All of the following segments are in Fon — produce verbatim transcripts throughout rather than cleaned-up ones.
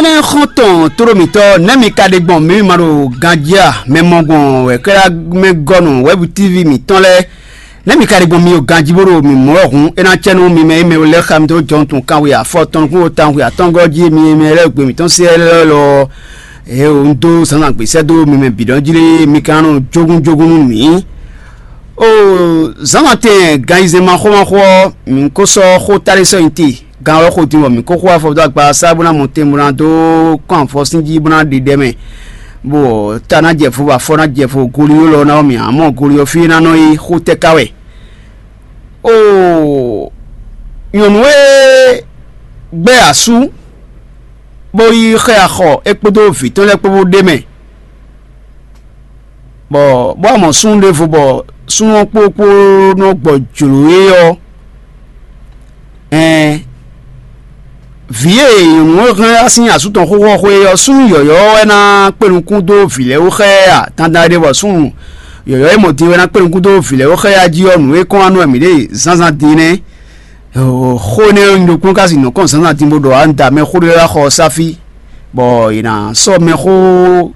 Nɛ́ xɔ́ntɔn tóɖó mǐtɔn, nɛ́ mi ka ɖe gbɔn mǐ ma ɖo ganjí a? Mɛ mɔ gbɔn wɛ̌kɛ́ɖá mɛ gɔ́ nɔ wɛ́bu tívi mǐtɔn lɛ́ɛ. Nɛ́ mi ka ɖe gbɔn mi ɖo ganjí bó ɖo mǐ mlɔ́ hǔn, é ná cɛ nú mi mɛ e mɛ lɛ́ɛ xa mitɔn jɔn tun kanwe afɔtɔn nukún tawun xwe atɔ́ngɔ́ jí mi mɛ lɛ́ɛ gbe mǐtɔn se lɛ́ɛ lɔ. Ě un dó zǎnzǎn gbèsɛ́ dó mi mɛ bǐ ɖɔ́ jí lé, mi ka nɔ jógúnjógún nú mǐ. Oo, zǎnzǎn tɛn ganyizɛ́n ma xó ma xó ɔ́, mǐ ko sɔ́ xó táɖé sɔ́ nyi te. Gan ɔ́ xo din bɔ mǐ ko xo afɔ dó agba sá bó ná mɔ tɛn bó ná dó kɔn afɔ sín jí bó ná ɖe ɖɛ mɛ, bɔ ta ná jɛ fo, bɔ afɔ ná jɛ fo, goli ɔ́ lɔ ná ɔ́ mǐ ǎ mɔ goli ɔ́ fí é ná nɔ yi xó tɛ́ ká wɛ. Oo, nyɔ̌nu e gbɛ́ asú bó yi xɛ axɔ é kpódó vǐ tɔn lɛ́ɛ kpó bó ɖ'é mɛ, bɔ bó wá mɔ súnnu ɖěvo bɔ súnnu ɔ́ kpókpó nɔ gbɔ jlǒ é ɔ́, ɛn vǐ e nyɔ̌nu ɔ́ hɛn wá sín asú tɔn xóxó ɔ́ xwé ɔ́, súnnu yɔ̌yɔ́ wɛ ná kpé nukún dó vǐ lɛ́ɛ wú xá ɛ a? Dandan ɖé bɔ súnnu yɔ̌yɔ́ e mɔ din wɛ ná kpé nukún dó vǐ lɛ́ɛ wú xá ɛ a jí ɔ́, nǔ e kɔn wá nú wɛ mǐ ɖe zǎnzǎn din nɛ́. Xó énɛ́ ɔ́, un ɖo kplɔ́n kási nǔ kɔn zǎnzǎn din bó ɖɔ ǎ, un da mɛ xó ɖé wá xɔ ɔ́ sá fí, bɔ è nǎ sɔ́ mɛxó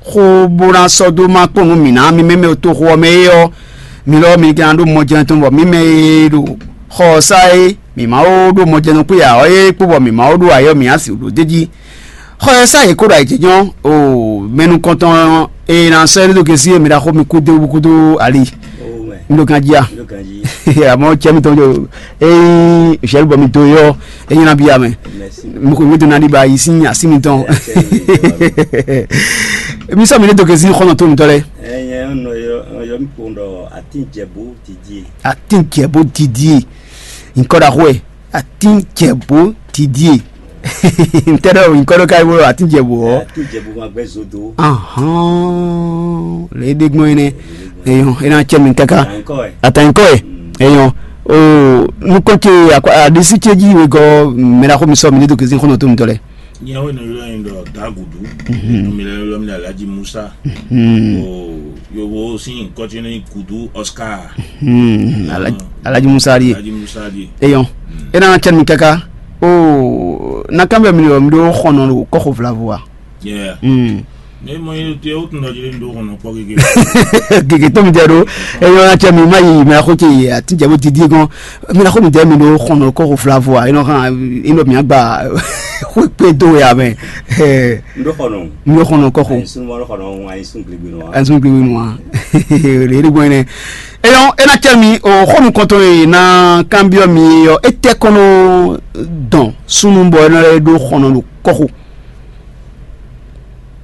xó bó ná sɔ́ dó má kpɔ́n nú mǐ ná mì mɛ mɛ toxo ɔ́ mɛ é ɔ́, mi lɔ mi ka ná ɖó mɔjɛnɔ tɔn bɔ mǐ mɛ e ɖo xɔ ɔ́ sá é, mǐ ma ó ɖó mɔjɛnɔ kpé ǎ ɔ́ é kpó bɔ mǐ ma ó ɖó ayɔ mǐ asi ɖo d'é jí. Xɔ ɛ sá yě kó ɖo ayǐjínjɔ́n o mɛ nukɔntɔn e ná sɔ́ ɛ ɖó gěsí e mi ɖaxó mi kúdó kúdó ali. Un ɖo ganjí a? Àmọ́ cɛ mitɔn ɖo ényí zhɛ̌lu bɔ mi dó yɔ é nyí ná bíyá mɛ. Mi ko mi dó ná ɖi ba yi sín así mitɔn. Mi sɔ mi ɖé dó gěsí xɔnɔ tó mitɔ lɛ. Ɛnyɛ nɔ yɔ yɔ mi kpɔn ɖɔ atín jɛbú didi. Atín jɛbú didi. Nkɔ ɖaxó ɛ. Atín jɛbú didi. Ntɛ ɖɔ nkɔ ɖo ka yi bolo atín jɛbú ɔ. Atín jɛbú ma gbɛ zodo. Ahɔn le ɖe gbɔn yi nɛ. Eyɔn ena cɛ mi kaka. Ankɔ ɛ. Ata nkɔ ɛ. Eyɔn o nukɔ ce aɖisi ce ji wegɔ mɛ ɖaxó mi sɔ mi ne do kezi xɔnɔ tó mi tɔ lɛ. Nyɛ wo nɔ ylɔ nyi ɖɔ Dagudu. Mi lɛ ylɔ mi ɖɔ Alhaji Musa. O yovo sin kɔtine Gudu Oscar. Alhaji Musa ɖie. Alhaji Musa ɖie. Eyɔn ena cɛ mi kaka. O na kan bɛ mi ɖɔ mi ɖo xɔnɔ ɖo kɔxo vlavo a? Yeah. Ne mɔ yín te o tun dɔ jeli do kɔnɔ kpɔ gege. Gege tó mi jɛ ɖo. Eyɔn na cɛ mi ma yi mi axo ce yi ati jɛ bo didi gɔn. Mi na xo mi jɛ mi ɖo xɔnɔ kɔxo vlavo a? Enɔ kan enɔ mi agba xo kpe do ya mɛ. Ndo xɔnɔ. Mi ɖo xɔnɔ kɔxo. Ayi sunu ma ɖo xɔnɔ ayi sun gbegbe nɔ wa. Ayi sun gbegbe nɔ wa. Le ɖe gbɔn ne. Eyɔn ena cɛ mi o xɔnu kɔntɔn ye na kan biɔ mi yɔ etɛ kɔnɔ dɔn sunu bɔ enɔ ɖo xɔnɔ ɖo kɔxo.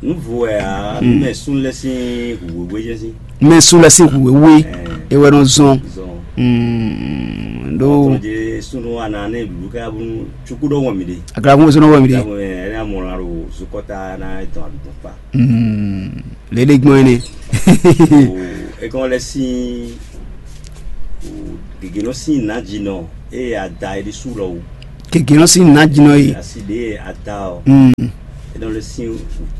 Nuvo wɛ a mɛ sun lɛ sin wewé jɛ sin. Mɛ sun lɛ sin wewé ewɛ nɔ zɔn. Zɔn. Do. Tɔnje sunu ana ne lulu kɛ abunu tsuku dɔ wɔn mi de. Akara kun sunu wɔn mi de. Ɛna mɔ na ro zukɔta na etɔn adugbɔn kpa. Lele gbɔn ne. Ekɔn lɛ sin. Gege nɔ sin na jinɔ eye ada yi ɖi su lɔ wu. Gege nɔ sin na jinɔ yi. Asi ɖe ada o. Enɔ le sin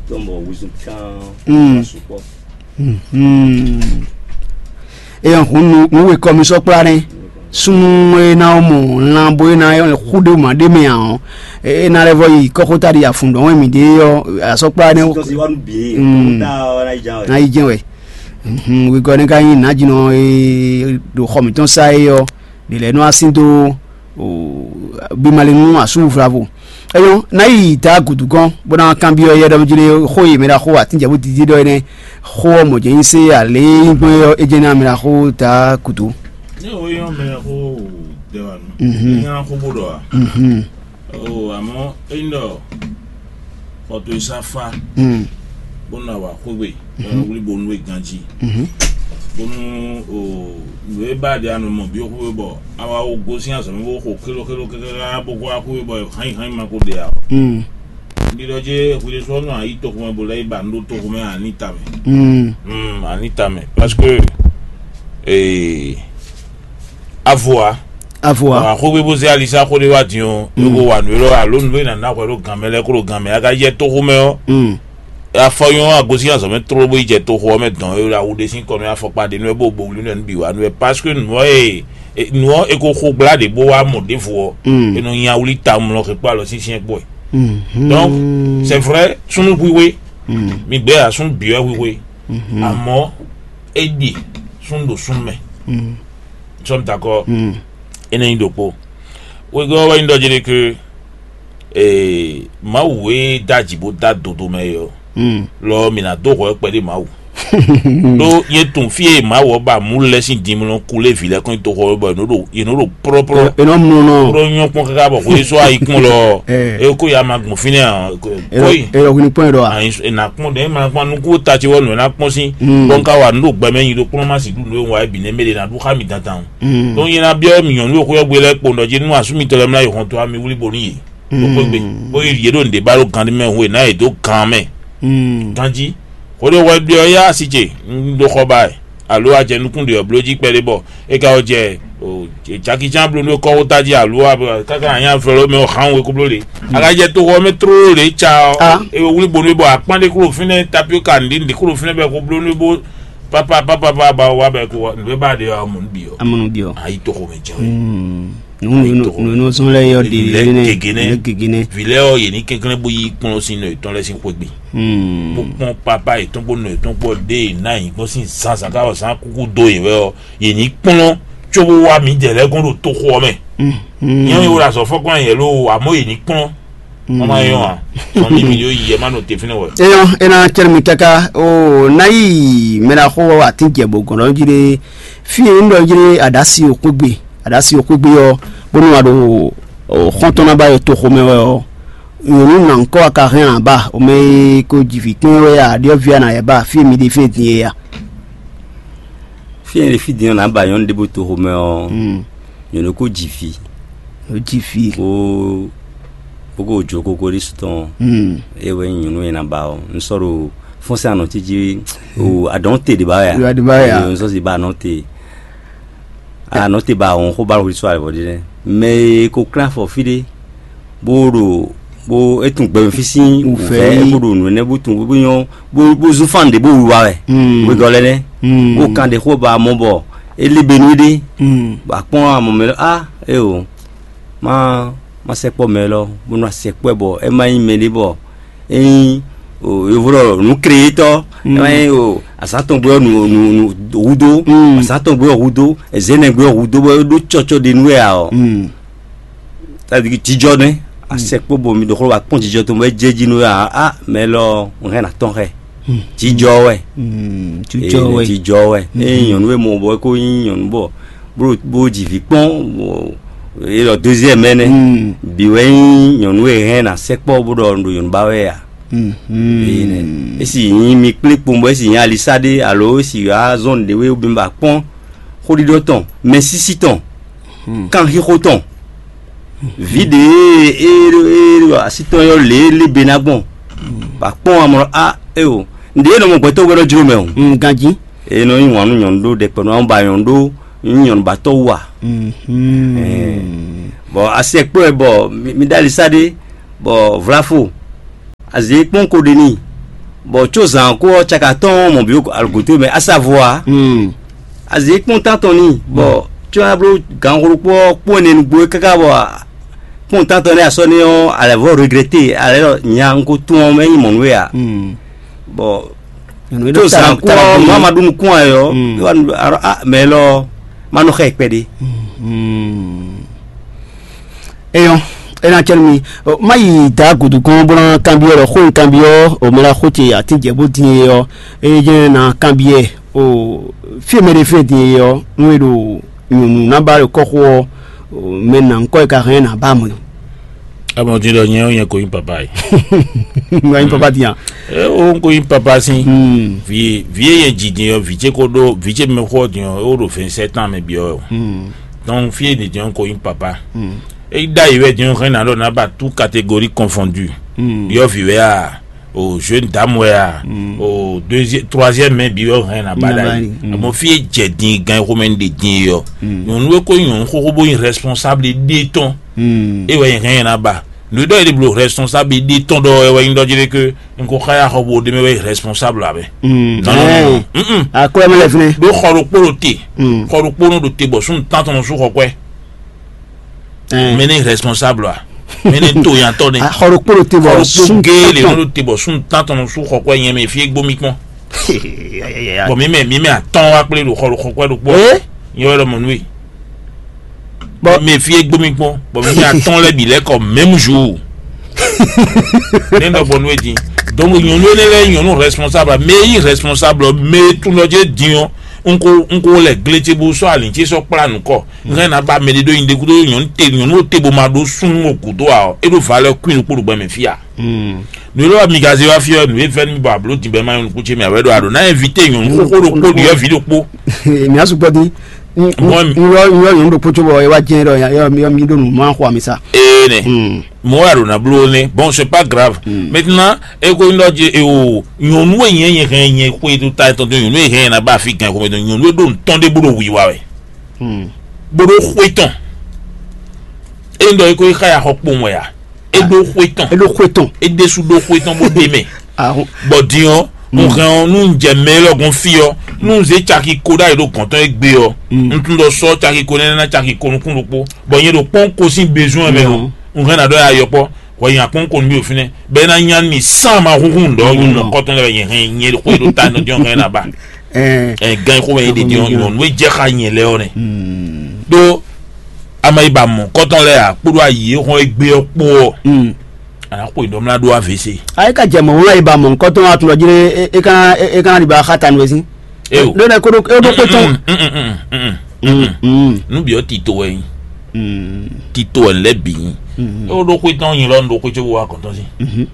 tɔn bɔ wuzun kan. Sukpɔ. Eyɔn hun nu nu we kɔmi sɔ kpla ne. Sunu e na mɔ lan bo e na yɔ xu ɖe ma ɖe mɛ ɔ e na lɛ vɔ yi kɔxota ɖi afun dɔn wɛ mi ɖe yɔ asɔkpla ne. Tɔsi wa nu bi. Ta ɔ na yi jan wɛ. Na yi jɛn wɛ. Wegɔ́ nɛ́ ka nyí nǎjínɔ e ɖo xɔ mǐtɔn sá é ɔ́, ɖě lɛ́ɛ nɔ wá sín dó bimalinu asúvlavo. Ɛyɔ́, ná yi da gǔdo gɔ́n bó ná kanbyɔ́ yɛ ɖɔ jlé xó e mɛ ɖaxó atínjɛ̌bú dídí ɖɔ énɛ́. Xó ɔ́ mɔ̌ jɛ́n nyí sé alě é nyí gbɔn é ɔ́, é jɛ́n ná mɛ ɖaxó da gǔdo. Ní o yɔ́n mɛ xó dɛ wa nù. Ní ná xó bó ɖɔ wa. Oo, àmọ́ é nyí ɖɔ xɔ towe sá fá, bó nɔ wa xwé gbe, bó nɔ wlí bo nú we ganjí, bónú o nǔ e ba ɖe anɔ mɔ bí xwé bɔ a wá wo gosín azɔ̌ mɛ bó xo xélo xélo káká bó xo wá xwé bɔ hányi hányi ma ko ɖe ǎ. Ɖiɖɔ jɛ hwiɖe sɔ nɔ ayi toxo mɛ bó lɛ yi ba nú ɖó toxo mɛ ani tamɛ. Ani tamɛ parce que ee avoa avoa. Xogbe bó zé alisa xó ɖé wá din ɔ́, é ko wa nǔ élɔ́ alo nǔ e nǎ ná hwɛ ɖó gan mɛ lɛ́ɛ kó ɖo gan mɛ a ka yɛ toxo mɛ ɔ́. Afɔ nyɔ́ agosín azɔ̌ mɛ tlóló bó yi jɛ toxo ɔ́ mɛ dɔn é ɖo awu ɖé sín kɔ nú afɔkpa ɖé nú ɛ bó bo wlí nú ɛ nú bǐ wá nú ɛ parce que nǔ ɔ́ e nǔ ɔ́ e ko xo gbla ɖě bó wá mɔ ɖěvo ɔ́, é nɔ nya wlí ta mlɔ xekpó alɔ sínsɛ́n kpɔ́ ɛ. Donc, c'est vrai, súnnu hwíhwé, mi gbé ya súnnu bǐ wɛ hwíhwé, àmọ́ é ɖi súnnu ɖo súnnu mɛ. Nous sommes d'accord. Énɛ́ nyí ɖokpó. Wegɔ́ wɛ nyí ɖɔ jɛ́n ɖe ke ee, Mawu e dó aji bó dó adodo mɛ é ɔ́, lɔ mǐ ná dó hwɛ kpɛɖé Mawu. Ɖó nyɛ tunwun fí e Mawu ɔ́ ba mǔ lɛ́ɛ sín dinmlɔ́ kulé vǐ lɛ́ɛ kɔn nyi toxo ɔ́ bɔ yě nɔ ɖo yě nɔ ɖo plɔ́plɔ́. È nɔ mlɔ́ nɔ. Ɖó nyɔ́ kpɔ́n káká bɔ hwesó ayikún lɔ ɔ́, é kó ya ma gbɔn fínɛ́ ǎ. Kɔ́yi. È nɔ hwini kpɔ́n yɛ ɖɔ a? È nǎ kpɔ́n ɖɛ̌ ma kpɔ́n nukún ta ce wɔ nǔ e ná kpɔ́n sín. Bɔ un ka wa nǔ ɖo gbɛ mɛ nyi ɖokpónɔ má sixú nǔ e un wa é bǐ nɛ́ mɛ ɖé ná ɖu xá mì dandan o. Ɖó nyɛ ná byɔ́ mì nyɔ̌nu e xwé ɔ́ gbe lɛ́ɛ kpo ɖɔ jí nú asú mitɔn lɛ́ɛ mlá yi hɔn tó wá mi wlí bo nú yě. Bó xwé gbe bó yi yě ɖo nǔɖé ba ɖo gan mɛ hun e ná yě dó gan mɛ. Ganjí. Xwéɖé hwɛ ɖe ɔ́ yá asi ce un ɖó xɔ ba wɛ, alo a jɛ nukún ɖe ɔ́ bló jí kpɛɖé bɔ é ka wɔ jɛ jakicán bló nú kɔ́xota jí alo káká anyá vlɔ́ mɛ ɔ́ xán we kó bló le. A ka jɛ toxɔ mɛ tlóló ɖě ca ɔ́, é wlí bónú bɔ akpán ɖé kúrò fínɛ́, tapioka nǔɖé nǔɖé kúrò fínɛ́ bɔ é ko bló nú bó papa papa papa ba wa bɔ é ko nǔ e ba ɖe ɔ́ mɔ nú bǐ ɔ́. Amɔnɔ biɔ. Ayi toxo mɛ jɛ wɛ. Nunu zɔn lɛ yɔ de Lɛ gege nɛ. Lɛ gege nɛ. Vi lɛ ɔ yě ní kɛnklɛ́n bó yí kplɔ́n sín nɔ yětɔn lɛ́ɛ sín xwé gbe. Bó kpɔ́n papa yětɔn kpó nɔ yětɔn kpó ɖé yě ná yǐ gbɔn sín zǎnzǎn ká wɔ zǎn kúkú dó yě wɛ ɔ́, yě ní kplɔ́n cóbó wá mǐdɛɛ lɛ́ɛ gɔ́n ɖo toxo ɔ́ mɛ. Nyɛ wɔ azɔ̌ fɔkún yɛ lo àmọ́ yě ní kplɔ́n. Wọ́n máa yọ̀ wá. Sọ mí mi yóò yí ẹ má nò tefínɛ wẹ̀. Eyɔn ena cɛrɛ mi kaka o nayi mɛɖaxo atin jɛ bɔ gɔnɔ jire fi ŋdɔ jire adasi okpegbe adasi okpegbe ɔ bónú wa ɖo xɔntɔn na ba yɔ toxo mɛ wɛ ɔ nyɔnu na ŋkɔ aka hɛn na ba o mɛ ko jivi kpɛn wɛ a ɖiɔ via na yɛ ba fi mi ɖe fi din ye ya. Fí e fí din ɔ́ nǎ ba nyɔ̌nu ɖěbǔ toxomɛ ɔ́, nyɔ̌nu ko ji vǐ, Nǔ ji vǐ. Bó bó ko jó kókó ɖésú tɔn. Mm. É wɛ nyí nyɔ̌nu e ná ba ɔ́. Un sɔ́ ɖo fɔ́nsɛ́n anɔ̌ ce jí o adɔ̌ te ɖě ba wɛ a? Ɖě ba wɛ a? Ee, un sɔ́ si ba anɔ̌ te. Anɔ̌ te ba wɔn xó ba hwesú alɛ vɔ ɖé nɛ́. Mɛ e ko klán afɔ fí ɖé bó ɖo bó é tún gbɛmɛ fí sín wǔvɛ́ é bó ɖo nǔ énɛ́ bó tún bó nyɔ́ bó bó zún fán ɖě bó wiwa wɛ. Wegɔ́ lɛ́ɛ nɛ́ bó kan ɖe xó ba mɔ bɔ é lé be nú ɖé. Bɔ akpɔ́n amɔ mɛ lɔ á é o má má sɛkpɔ́ mɛ lɔ bó nɔ sɛkpɔ́ bɔ é má nyí mɛ ɖé bɔ é nyí yovo ɖɔ nǔ créétɔ́ é má nyí o azǎn tɔn gbé ɔ́ nǔ nǔ nǔ húdó azǎn tɔn gbé ɔ́ húdó zɛ̌nɛ gbé ɔ́ húdó bɔ é ɖó cɔcɔ ɖe nú wɛ ǎ ɔ́. C'est-à-dire que jijɔ nɛ asɛkpó bo mi ɖo xló wa kpɔn jijɔ tó mɛ jɛ ji nú a a mɛ lɔ hɛn na tɔn xɛ jijɔ wɛ. Jijɔ wɛ. Jijɔ wɛ. Eye nyɔnu e mɔ bɔ ko nyi nyɔnu bɔ bó bó ji vi kpɔn e lɔ deuxième mɛ nɛ bi wɛ nyi nyɔnu e hɛn na sɛkpɔ bó ɖɔ ɖo nyɔnu ba wɛ ya. Esi nyi mi kplé kpɔn bɔ esi nyi alisa ɖe alo esi azɔn ɖe wɛ bi ba kpɔn xóɖiɖɔ tɔn mɛ sisi tɔn kan xixo tɔn vǐ ɖě e e e asi tɔn yɔ lě e lé be ná gbɔn bɔ akpɔ́n amlɔ a eo ǹɖe e nɔ mɔ gbɛtɔ́ wɛ nɔ jló mɛ o. Ganjí. E nɔ nyi wǎn nú nyɔ̌nu ɖó ɖɛkpɛ nú àwọn ba nyɔ̌nu ɖó nyɔ̌nu ba tɔ́ wú a. Bɔ asi ɛkpɔ́ ɛ bɔ mi ɖó alisa ɖé bɔ vlafo azě kpɔ́n ko ɖe n'i bɔ có zǎn ko ɔ́ caka tɔn mɔ bǐ alogǒto mɛ asavo ǎ. Azě kpɔ́n tántɔn n'i bɔ có ná bló gǎn xlókpó ɔ́ kpó ɛnɛ nugbo é káká bɔ kpɔ́n tántɔn nɛ́ asɔ́ nɛ́ ɔ́ alɛ̌ vɔ regrɛte alɛ̌ ɖɔ nya un ko tún ɔ́ mɛ nyí mɔ̌ nú we ǎ. Bɔ tó zǎn kú ɔ́ nú a ma ɖó nukún ɛ ɔ́ é wá nu arɔ a mɛ lɔ ma nɔ xɛ kpɛɖé. Eyɔn ena cɛnu mi má yi da gudu gɔn bó ná kanbyɔ lɔ xó kanbyɔ o mɛ la xó ce atin jɛ bó din e ɔ eye jɛ na kanbyɔ o fí mɛ ɖe fɛn din e ɔ nú e ɖo nyɔnu ná ba ɖo kɔxo ɔ mɛ na ŋkɔ yi ka hɛn na ba mɔ. Amɔ ti ɖɔ nyɛ nyɛ ko yin papa yi. Nga yin papa diyan. E o ko yin papa si. Vi vi ye ji din yɔ vi ce ko ɖo vi ce mɛ xɔ din yɔ o ɖo vingt-sept ans mɛ bi yɔ. Donc fi ye din ko yin papa. E da yi wɛ din xɛ na ɖo na ba tout catégorie confondue. Yɔ vi wɛ a o jeune dame wɛ a o deuxième troisième mɛ bi yɔ hɛn na ba da yi. Amɔ fi ye jɛ din gan xɔ mɛ de din yɔ. Nyɔnu e ko nyɔnu xoxo bo yin responsable de tɔn. E wɛ yin hɛn na ba. Nǔ ɖɔ yě ɖe bló responsable ɖi tɔn ɖɔ wɛ wɛ nyí ɖɔ jí ɖé ke n ko xá ya xɔ bo ɖe mɛ wɛ responsable abɛ. Non, non, non. Akwɛ mɛ lɛ fínɛ. Ɖó xɔ ɖokpó ɖo te. Xɔ ɖokpó nɔ ɖo te bɔ súnnu tántɔn nɔ sú xɔ kwɛ. Mɛ ní responsable a. Mɛ ne to nyatɔ ne. Xɔ ɖokpó ɖo te bɔ xɔ ɖokpó sun gé le tɔn. Nɔ ɖo te bɔ sun tán tɔn su xɔ kɔɛ nyɛ mɛ fi egbó mi kpɔn. Bɔn mi mɛ mi mɛ atɔn wa kple ɖo xɔ xɔ kɔɛ ɖokpó. Ee. Nyɛ wɛ lɔ mɔ nue. Bɔn mi fi egbó mi kpɔn bɔn mi mɛ atɔn lɛ bi lɛ kɔ même jour. Ne nɔ bɔ nue din. Donc nyɔnu ne lɛ nyɔnu responsable mais yi responsable mais tún lɔ jɛ din ɔ. N ko n ko lɛ glé ce bó sɔ alin ce sɔ kpla nukɔ. N hɛn na ba mɛ ɖe ɖo yin ɖe kudo nyɔnu te nyɔnu te bó ma ɖó sún o kudo a ɔ e ɖo valeur queen kpó ɖo gbɛ mɛ fia. Nu e lɔ mi gaze wá fia nu e fɛn mi bɔ ablo din bɛ ma nyɔnu kú ce mɛ awɛ ɖo aɖo na invité nyɔnu kókó ɖokpó ɖiɔ vi ɖokpó. Mi asu gbɔ di. N Mɔ mi. N yɔ n yɔ nyɔnu ɖokpó tso bɔ e wá jɛn ɖɔ yɔ mi yɔ mi ɖo nu ma xɔ ami sa. Ee nɛ. Mɔ wá ɖo na blo ne bon c'est pas grave. Maintenant e ko n ɖɔ je e o nyɔnu e nyɛ nyɛ hɛn nyɛ xwe to ta etɔn to nyɔnu e hɛn na ba fi gan xwe to nyɔnu e ɖo ntɔn ɖe bó ɖo wiwa wɛ. Bó ɖo xwe tɔn. E n ɖɔ e ko yi xa ya xɔ kpowun wɛ ya. E ɖo xwe tɔn. E ɖo xwe tɔn. E ɖesu ɖo xwe tɔn bó ɖe mɛ. Ahun. Bɔ din ɔ n hɛn ɔ nu n jɛ mɛ lɔ gɔn fi ɔ nu n zé caki ko ɖ'ayǐ ɖo gɔn tɔn e gbe ɔ n tún ɖɔ sɔ caki ko nɛnɛ ná caki ko nukún ɖokpó bɔ nyɛ ɖo kpɔn ko sín besoin mɛ ɔ n hɛn na ɖɔ ya yɔkpɔ hwɛ nya kpɔn ko nú mi ɖo fínɛ́ bɛ na nya mi sán ma húnhún ɖɔ yún nɔ kɔtɔn lɛ bɛ nyɛ hɛn nyɛ xwe ɖo ta nɔ diɔn hɛn na ba. Ɛ gan xo mɛ yi ɖe diɔn nyɔ nu e jɛ xa nyɛ lɛ ɔ nɛ. Ɖó ama yi ba mɔ kɔtɔn lɛ a kpódó ayi e xɔn egbe ɔ kpó ɔ ana xo yi ɖɔmla ɖó avc. Ayi ka jɛ mɔ wula yi ba mɔ nkɔtɔn atun lɔ jiri e kana e kana di ba xa tanu esi. Eo. Ɖo nɛ koɖo e ɖo kpé tɔn. Nu bi ɔ tito wɛ nyi. Tito wɛ lɛ bi nyi. E wo ɖo xwe tɔn nyi lɔ nu ɖo xwe tso wo wa kɔntɔn si.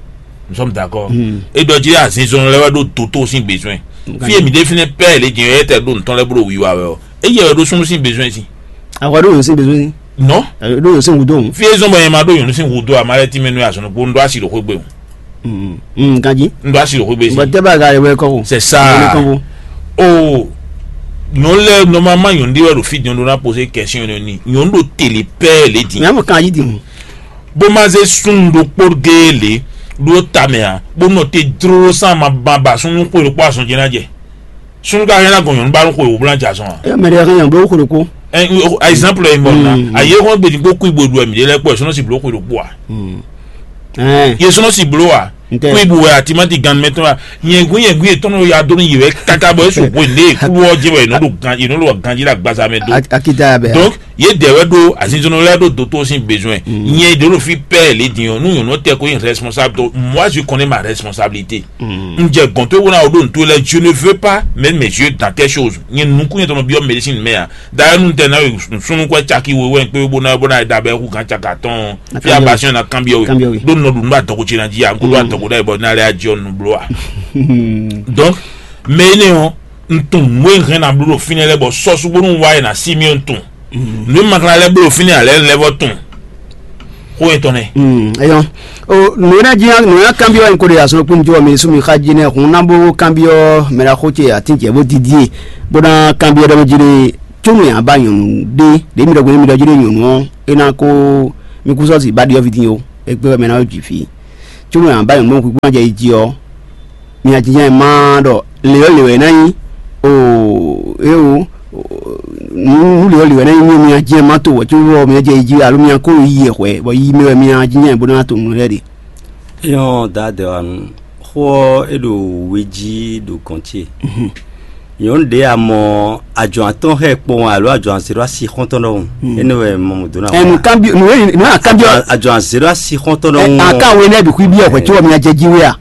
Nous sommes d'accord. E ɖɔ jiri azinzɔn lɛ wɛ ɖo doto sin besoin. Fi emi ɖe fínɛ pɛ le jɛ yɛ tɛ ɖo ntɔn lɛ blo wiwa wɛ ɔ. E yɛ wɛ ɖo sunu sin besoin si. Ahwa ɖo yòó sin besoin si. Non. Ɖo yòó sin wudo. Fi ezɔn bɔ yɛ ma ɖo yòó sin wudo a ma lɛ ti mɛ nu azɔn kpo n ɖo asi ɖo xwe gbe o. Ganji. N ɖo asi ɖo xwe gbe si. Bɔn tɛ b'a ga yɛ wɛ kɔ o. C'est ça. O nyɔnu lɛ normalement nyɔnu ɖe wɛ ɖo fi nyɔnu ɖo na poser question ni nyɔnu ɖo télé pɛ le di. Mɛ mo kan yi di. Bó ma zé súnnu ɖokpó géé lě ɖó tamɛ ǎ, bó nɔ te dló sán ma ba ba súnnu xwe ɖokpó azɔn jɛ ná jɛ. Súnnu ka hɛn ná gɔn nyɔ̌nu ba nú xwe wǒ bó ná jɛ azɔn ǎ. Ɛ mɛ ɖé hɛn nyɔ̌nu ɖó xwe ɖokpó. Ɛ, ayizanplu e mɔ ná ayé xɔn gbèdígbò kú ibo ɖu ɛmí ɖé lɛ́ kpɔ ɛ sɔ́nà sì bló xwe ɖokpó ǎ. Ɛ yé sɔ́nà sì bló ǎ. Kú ibo wɛ àti má ti gan mɛ tɔn wá. Nyɛ̀gún nyɛ̀gún yě tɔn nɔ ya dó ní yě wɛ káká bɔ é su hwe lé kúlú ɔ́ jẹ́ wɛ yě nɔ ɖo gan yě nɔ ɖo ganjí ɖo agbaza mɛ dó. Akita bɛ. Donc yě dɛ wɛ ɖo azinzɔnnɔ lɛ ɖo dotó sín besoin. Nyɛ ɖe ɖo fi pɛ lé din ɔ nú nyɔnu tɛ ko yin responsable to moi je connais ma responsabilité. N jɛ gɔn to wona o ɖo nto lɛ je ne veux pas mettre mes yeux dans quelque chose nyɛ nukun yɛ tɔnɔ biɔ médecine mɛ a d'ailleurs nu tɛ na sunukun caki wo wɛ kpe bo na bo na da bɛ hu gan caka tɔn fi abasi na kanbiɔ we ɖo nɔ ɖu nu ba dɔgɔ tsi na dzi a n ko ɖo adɔgɔ ɖe bɔ na lɛ adzɔ nu blo a. Donc mɛ ne ɔ n tun nǔ e hɛn na bló ɖo fínɛ́ lɛ́ɛ bɔ sɔ́sú bónú wá e na sí mì n tun. Nǔ e ma ka lɛ́ɛ bló ɖo fínɛ́ ǎ lɛ́ɛ lɛ́ɛ vɔ tun. Xó etɔn nɛ. Eyɔn o nǔ e ná jí nǔ e ná kanbyɔ́ wɛ n ko ɖe azɔn kpó mi jó wɛ mi sú mi xá jí nɛ́ hun ná bó kanbyɔ́ mɛ ɖaxó ce atín ce bó dídí e bó ná kanbyɔ́ ɖɔ mɛ jí ɖe có nú yǎ ba nyɔ̌nu ɖé ɖě mi ɖɔ gbé mi ɖɔ jí ɖe nyɔ̌nu ɔ́ é ná kó mi kú sɔ́ si ba ɖiɔ́ví dín ó é gbé wɛ mɛ ná jǐ fí. Có nú yǎ ba nyɔ̌nu kúkú ná jɛ yi jí ɔ́ mi ná jínjɔ́n ɛ má ɖɔ lě ɔ́ lě wɛ é ná nyí o é o nú lě ɔ́ lě wɛ é ná nyí mi ná jínjɔ́n ɛ má to wɛ có ɔ́ mi ná jɛ yi jí alo mi ná kó yi yɛ hwɛ bɔ yi mɛ wɛ mi ná jínjɔ́n ɛ bó ná to nǔ lɛ́ɛ ɖe. Yɔn dadɛ wa nu xɔ e ɖo weji ɖo gɔn ce. Nyɔnu ɖe a mɔ adzɔn atɔn xɛ kpɔn alo adzɔn azero asi xɔntɔn ɖɔhun. Ene wɛ mɔ mo dona. Ɛ nu kanbi nu e nu a kanbi. Adzɔn azero asi xɔntɔn ɖɔhun. A ka we ne bi kui bi ɔ hwɛ tí wɔ mi a jɛ ji we a.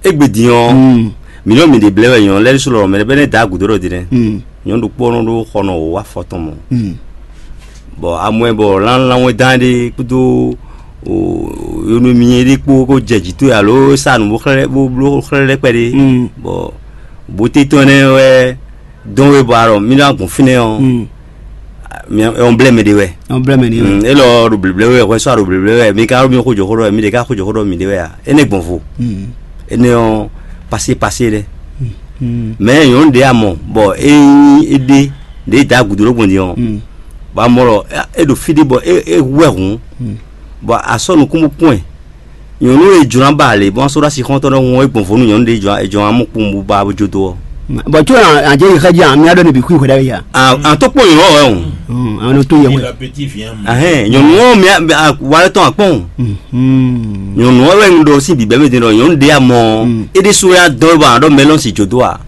Egbe din ɔ. Mi nɔ mi de blɛ wɛ nyɔnu lɛ so lɔ mɛ bɛ ne da agudo ɖɔ di nɛ. Nyɔnu ɖokpó ɔnɔ ɖo xɔnɔ o wa fɔtɔn mɔ. Bɔ amɔɛ bɔ lanlanwɛ dan ɖe kpódó yonumi ɖe kpó kó jɛ jǐ towe alo sa nu bó xlɛ́ bó bló xlɛ́ lɛ́ kpɛ ɖe. Bɔ bóté tɔn nɛ wɛ dɔn we bɔ alɔ mi ɖo agun fínɛ́ ɔ́ mi ɔn blɛ́ mɛ ɖe wɛ. Ɔn blɛ́ mɛ ɖe wɛ. Elɔ ɖo bleble wɛ hwɛ sɔ ɖo bleble wɛ mi ka ɖo mi xó jɔ xó ɖɔ mi ɖe ka xó jɔ xó ɖɔ mi ɖe wɛ a ene gbɔn vo. Ene ɔn pasé pasé ɖe. Mɛ nyɔnu ɖe amɔ bɔ e nyi e ɖe ɖe da gudo ɖo gbɔn din ɔn. Bɔ amɔ lɔ e ɖo fí ɖé bɔ e hu ɛ hǔn. Bɔ a sɔ́ nukún bó kpɔ́n ɛ. Nyɔ̌nu e jlɔ́n ba lě bɔ sɔ́ ɖó asi xɔ́ntɔn ɖɔhun ɔ́, é gbɔn vo nú nyɔ̌nu ɖé jɔ é jɔ amú kpowun bó ba bó jó dó ɔ́. Bɔn tso an jɛ yi xɛji an mi adɔ ne bi kui xwe da ya. An to kpɔn nyɔnɔ wɛ o. An to yɛ xwe. Ahɛn nyɔnɔ mi wa lɛ tɔn akpɔn. Nyɔnɔ wɛ wɛ ŋu ɖɔ si bi bɛmɛ din ɖɔ nyɔnɔ de amɔ. E de so ya dɔ ba dɔ mɛlɔn si jodo a.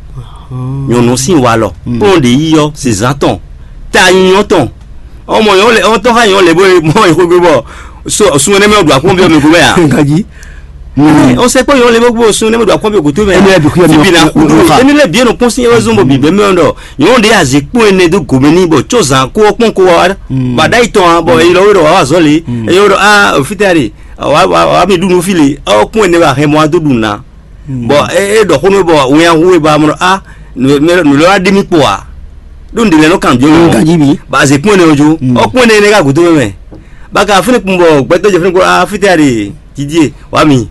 Nyɔnɔ si wa lɔ. Kpɔn de yi yɔ si zan tɔn. Ta nyɔ tɔn. Ɔmɔ yɔ lɛ ɔtɔ xa yɔ lɛ bɔ mɔ yɔ gbé bɔ. So sun ne mɛ ɖo akpɔn bi mi gbé ya. Nkaji. Ɔn sɛ kpɔ yɔ lɛ bɔ gbó sun ne mɛ ɖo akpɔn bi goto mɛ. Ɛnɛ bi kuyɔ mi. Bi na kudu ɛni lɛ bi ɛnɔ kpɔn si ɛwɛ zɔn bɔ bi bɛ mɛ ɖɔ yɔ de azi kpɔn ɛnɛ do gome ni bɔ tso zan ko kpɔn ko wa. Ba da yi tɔn bɔ eyi lɔ wɛ ɖɔ wa wa zɔli eyi wɛ ɖɔ a ofitɛ de. Wa mi ɖu nu fi le ɔ kpɔn ɛnɛ ba hɛn mɔ a do ɖu na. Bɔ e ɖɔ xó nú bɔ wɛnyaxu e ba mɔ a nǔ lɛ wá ɖi mì kpo a ɖó nǔɖé lɛ nɔ kan jɔ. Ganji bi. Ba ze kpɔn ne ojo ɔ kpɔn ne ne ka gǔdo mɛ. Ba ka fúnni kun bɔ gbɛtɔ jɛ fúnni ko a fitɛ de didi wa mi.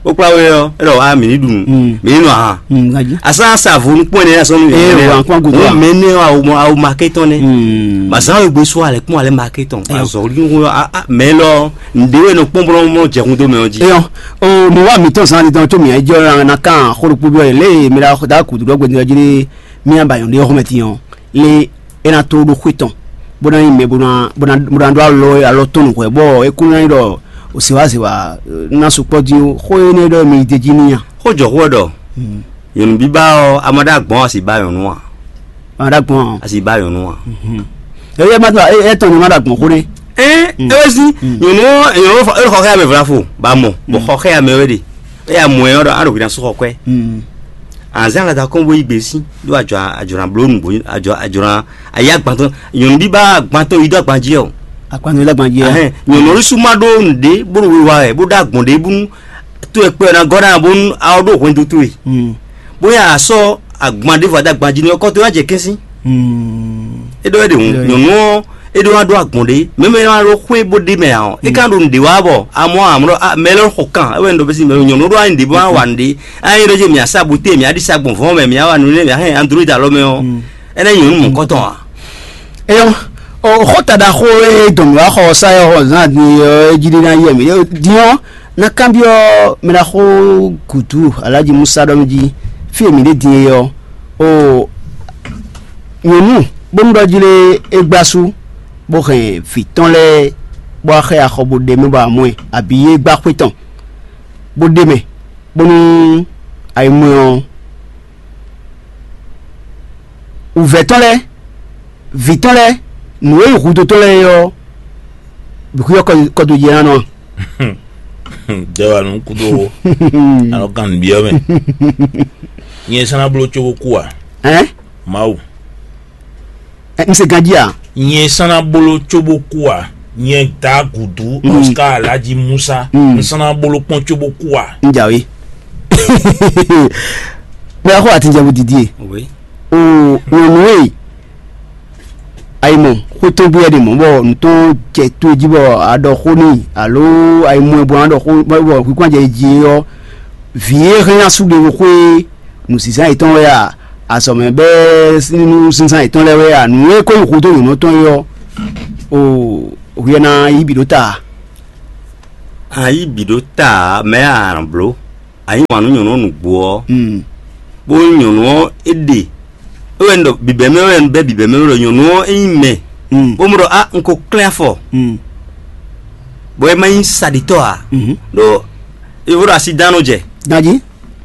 Ó kpla wɛ ɔ e ɖɔ a mi ní ɖu nǔ mi ní nɔ ahan. Ganji. Asa sa vo nu kpɔn ne asɔ nu. Ee wa kpɔn gudo a. Mɛ ne awo awo ma ke tɔn ne. Ba zan awo gbe so alɛ kpɔn alɛ ma ke tɔn. Azɔ olu mɛ lɔ nde wɛ nɔ kpɔn bɔ nɔ jɛ kun do mɛ ɔ ji. Eyɔn o mi wa mi tɔn zan di tɔn tso mi ɛ jɔ na kan xo ɖokpo bi ɔ lé mi da da kudu ɖɔ gbɛdun ɔ ji lé mi aba yɔn ɖe xɔmɛ ti ɔ lé e na to ɖo xwe tɔn bó ná yi mɛ bó ná bó ná bó ná ɖó alɔ alɔ tɔn nukɔn bɔ e kún ná yi ɖɔ o se wa se wa na sukpɔ di o xo e ne ɖɔ mi de ji ni ya. Xó jɔ xó ɖɔ nyɔnu bíbá ɔ a ma ɖo agbɔn a si ba nyɔnu a. Ma ɖo agbɔn a. A si ba nyɔnu a. Eye ma ɖo e tɔn ni ma ɖo agbɔn xó ne. Ɛn ewesi nyɔnu ɔ nyɔnu ɔ e xɔ xɛ amɛ vla fo ba mɔ bɔ xɔ xɛ amɛ wɛ de eya mɔ ɛ ɔdɔ aɖo hwina sɔxɔ kɔɛ. Anzan la da kɔn bo yi gbe si ɖo adzɔ adzɔ na blo nugbo adzɔ adzɔ na ayi agbantɔ nyɔnu bi ba agbantɔ yi do agbanji ɔ. Agbantɔ yi do agbanji ɔ. Ɛhɛn, nyɔnu ɔlu su ma ɖo nuɖe bó ɖo wiwa wɛ bó ɖo agbɔn ɖe bónú to ɛ kpɛ ɔ́ ná gɔ́ ná bónú a ɔ́ ɖo hwɛndo towe. Bóyá a sɔ́ agban ɖěvo a dó agban jí nú ɔ́, kɔ towe ná jɛ kɛ́n sín. É ɖɔ wɛ ɖe hǔn, nyɔ̌nu ɔ́, é ɖó ná ɖó agbɔ̌n ɖé, mɛ̌ mɛ ná ɖó xwé bó ɖ'é mɛ ǎ ɔ́, é ka ɖo nǔɖé wa bɔ amɔ̌ ǎ, amlɔ mɛ lɛ́ɛ xɔ kan, é wɛ un ɖɔ bɛ́ sín mɛ nyɔ̌nu ɖó ányi ɖě bó ná wa nǔɖé. Ányi ɖɔ jɛ mǐ asá bute, mǐ aɖi sa gbɔn vɔ̌ mɛ, mǐ wa nǔɖé, mǐ hɛn android alɔ mɛ ɔ́, é ná nyí nyɔ̌nu mɔ̌kɔtɔn ǎ. Eyɔ́, xó taɖaxó e dɔn mǐ wá xɔ ɔ́ sá yɔ xɔ zán din ɔ́, é jí ɖé ná yɛ mǐ. Din ɔ́, ná kanbyɔ́ mɛ ɖaxó gǔdo Alhaji Musa ɖɔ mì jí, fí e mǐ ɖe din é ɔ́, o nyɔ̌nu bónú ɖɔ jí lé é gbá sú, bó hɛn vǐ tɔn lɛ́ɛ bó wá xá ɛ axɔ bó ɖe mɛ bɔ amɔ̌ ɛ, abǐ é gbá xwé tɔn bó ɖe mɛ, bónú ayimwɛ ɔ́, wǔvɛ́ tɔn lɛ́ɛ, vǐ tɔn lɛ́ɛ, nǔ e nyí hudó tɔn lɛ́ɛ é ɔ́, bǐ xwíyɔ́ kɔdojínánɔ ǎ. Jɛ wa nǔ kúdó wo. Anɔ kan nǔbyɔ́ mɛ. Nyɛ sán ná bló có bó kú ǎ. Ɛn? Mawu. Ɛ, n se ganjí ǎ. Nyɛ sán ná bló có bó kú ǎ. Nyɛ da gǔdú Oscar Alhaji Musa. N sán ná bló kpɔ́n có bó kú ǎ. N jǎwe. Mɛ xɔ atinjɛ bu didi e. Oui. O nyɔnu e ayi mɔ xwetɔn bu yɛ ɖe mɔ bɔ nutɔn jɛ to jí bɔ aɖɔ xó n'i alo ayi mɔ bɔ aɖɔ xó bɔ hwikwan jɛ ji ɔ, vǐ e hɛn asu ɖe xwe nǔsísá yětɔn wɛ a, azɔ̌mɛ bɛɛ nínú sísá yětɔn lɛ́ɛ wɛ a, nǔ e ko nyí xudó nyɔ̌nu tɔn é ɔ́, o hwiɛ ná yí bǐ ɖó ta. A yí bǐ ɖó ta mɛ a nǎ bló. A yí wǎn nú nyɔ̌nu ɔ́ nǔgbó ɔ́, bó nyí nyɔ̌nu ɔ́ é ɖe é wɛ un ɖɔ bǐbɛ́mɛ wɛ un bɛ́ bǐbɛ́mɛ wɛ ɖɔ nyɔ̌nu ɔ́ é nyí mɛ, bó mɔ ɖɔ a un ko klɛ́n afɔ, bɔ é ma nyí saɖitɔ́ ǎ, ɖó é vo ɖo asi dán nɔ jɛ. Ganjí.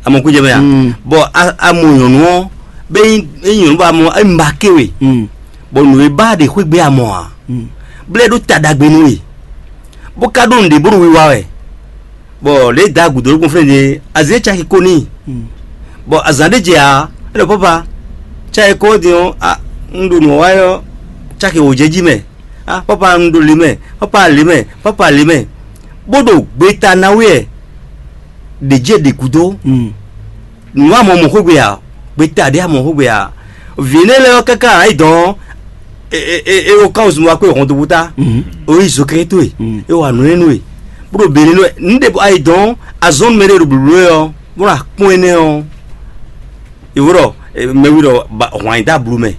Amɔ kú jɛ mɛ a? Bɔ a- amɔ nyɔ̌nu ɔ́, bɛ nyí é nyí nyɔ̌nu bɔ amɔ é ma ké we, bɔ nǔ e ba ɖe xwé gbe amɔ ǎ, blɛ́ ɖó ta ɖagbe nú we, bó ka ɖó nǔɖé bó ɖo wiwa wɛ. Bɔ lě e da gǔdo ɖokpɔn flɛ́n din é, azě caki ko n'i. Bɔ azǎn ɖé jɛ ǎ, é ɖɔ papa, caki ko din ɔ́, a un ɖo nǔ ɔ́ wa ɔ́, caki wǒ jɛ jí mɛ. A papa un ɖo lě mɛ, papa lě mɛ, papa lě mɛ. Bó ɖo gbeta ná wɛ ɖě jɛ ɖě gúdo. Nǔ amɔ mɔ xwé gbe ǎ, gbeta ɖě amɔ xwé gbe ǎ. Vǐ énɛ́ lɛ́ɛ ɔ́ káká ǎ yi dɔn ɔ́, e e e e wo kan zun wa kpé hɔn dó búta. O yi zo kɛkɛ towe, e wa nǔ énɛ́ nú we, bó ɖo bělé nú wɛ. Nǔ ɖě bɔ ayi dɔn azɔn mɛ ɖé ɖo blǔblú wɛ ɔ́, bó ɖo akpɔ́n énɛ́ ɔ́, e wo ɖɔ mɛwi ɖɔ hwan yi dó ablu mɛ.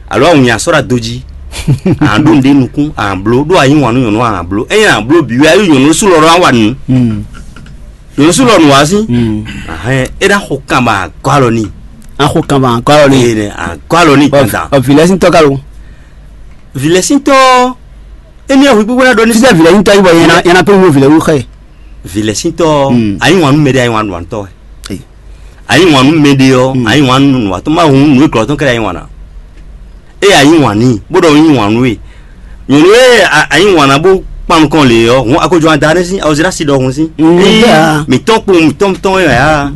Alo awun nya sɔ́ ɖo ado jí. An ɖó nǔɖé nukún an bló ɖó a yí wǎn nú nyɔ̌nu an bló. Ényí an bló bǐ wɛ a yí nyɔ̌nu sú lɔ ɖó an wa nǔ. Nyɔ̌nu sú lɔ nǔ wá sí. Ahɛn é ná xo kan bɔ a gɔ́ alɔ n'i. An xo kanban ankɔ alɔ ni. Ee, ne ankɔ alɔ ni dandan. Ɔ vilɛ sín tɔ ka lo. Vilɛ sín tɔ, emi ɔ hui gbogbo na ɖɔ ní. Sísɛ vilɛ sín tɔ yi bɔ yɛn na yɛn na pé wo vilɛ wu xɛ. Vilɛ sín tɔ, ayi wan nu mɛ ɖe, ayi wan nu antɔ wɛ. Ayi wan nu mɛ ɖe ɔ, ayi wan nu nu atɔ ma hun nu glɔ tɔn kɛ ayi wan na. E ayi wan ni, bó ɖɔ yi wan nu e. Nyɔnu e ayi wan na bó kpan nukɔn le ɔ, hun akojo ada ne sín, awɔzira si ɖɔ hun sín. Mitɔn kpo mitɔn mitɔn wɛ ya.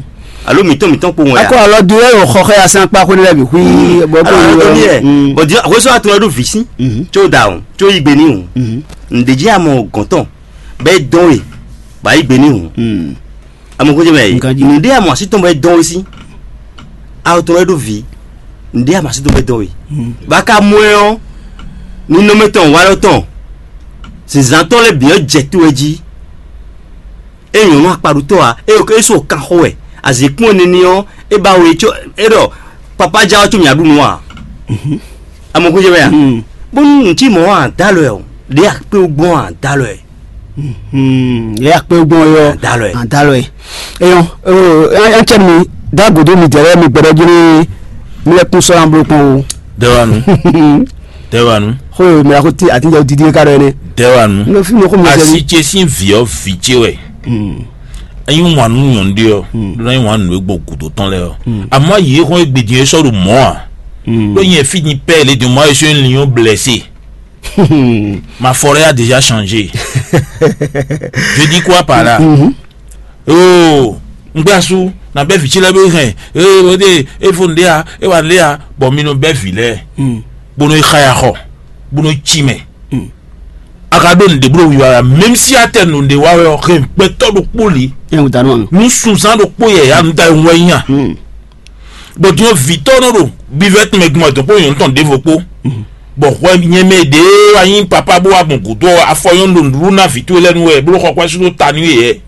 Alo mitɔn mitɔn kpo wɛ ya. Akɔ alɔ do yɛ o xɔ xɛ ya sɛn akpa xwene lɛ bi hui bɔ bɔ Alo yɛ. Bɔ di akoso atɔ ɖo vi sín. Tso da o, tso yi gbe ni o. Ndeji amɔ gɔntɔn. Bɛ dɔn we, ba yi gbe ni o. Amɔ ko jɛ mɛ yi. Nunde amɔ asi tɔn bɛ dɔn we sín. Awo tɔn wɛ ɖo vi. Nunde amɔ asi tɔn bɛ dɔn we. Ba ka mɔ ɛ ɔ. Ninɔmɛ tɔn wa lɔ tɔn. Zinzan tɔn lɛ bi ɔ jɛ to wɛ jí. E nyɔnu akpaɖutɔ a, e e so kan xo wɛ. Azikpɔn nini ɔ, e ba we tso e ɖɔ papa ja ɔ tso mia ɖu nu a. Amɔ ko jɛ mɛ ya. Bónú ŋutí mɔ a dalɔ ɛ o, ɖe akpé gbɔn a dalɔ ɛ. Hmm, yɛ akpé gbɔn yɔ. Adalɔ ɛ. Adalɔ ɛ. Eyɔn, o, an cɛ mi da godo mi dɛrɛ mi gbɛdɔ jiri mi lɛ kun sɔrɔ an bolo kpɔn o. Dɛwanu. Dɛwanu. Xo mi la ko ti ati jɛ didi ka dɔ ne. Dɛwanu. No fi no ko mi sɛ. Asi ce sín vǐ ɔ́ vǐ ce wɛ. Enyi wǎn nú nyɔ̌nu ɖé ɔ́, ɖó ná nyí wǎn nǔ e gbɔn gǔdo tɔn lɛ́ɛ ɔ́. Àmọ́ yě xɔn e gbèdín é sɔ́ ɖo mɔ̌ ǎ. Ɖó nyɛ fí din pɛ́ lě din mɔ̌ é sɔ́ nyí linyɔ́n blɛ́sé. Ma forêt a déjà changé. Je dis quoi par là? Oh, un gbé asú, na bɛ́ vǐ ce lɛ́ɛ bó hɛn. Ee, o de, e fo nɖé a, e wa nɖé a, bɔ mi nɔ bɛ́ vǐ lɛ́ɛ, bó nɔ yi xá ya xɔ, bó nɔ yi cí mɛ. A ka ɖó nǔɖé bló wiwa wɛ, même si a tɛ nǔɖé wa wɛ ɔ, hɛn gbɛtɔ́ ɖokpó li. Ɛ wò da nɔ. Nú sunzán ɖokpó yɛ ya nu ta wɛ nya. Bɔ din ɔ́, vǐtɔ́ nɔ ɖo bivɛ́ tɔn mɛ gbɔn dɔn kpó nyɔ̌nu tɔn ɖěvo kpó. Bɔ hwɛ nyɛ mɛ ɖě wá nyí papá bó wá gbɔn gǔdo ɔ́, afɔ nyɔ́nu ɖo nǔɖuɖu ná vǐ towe lɛ́ɛ nu wɛ, bó ɖo xɔ kwɛ́ sú dó ta nú yě.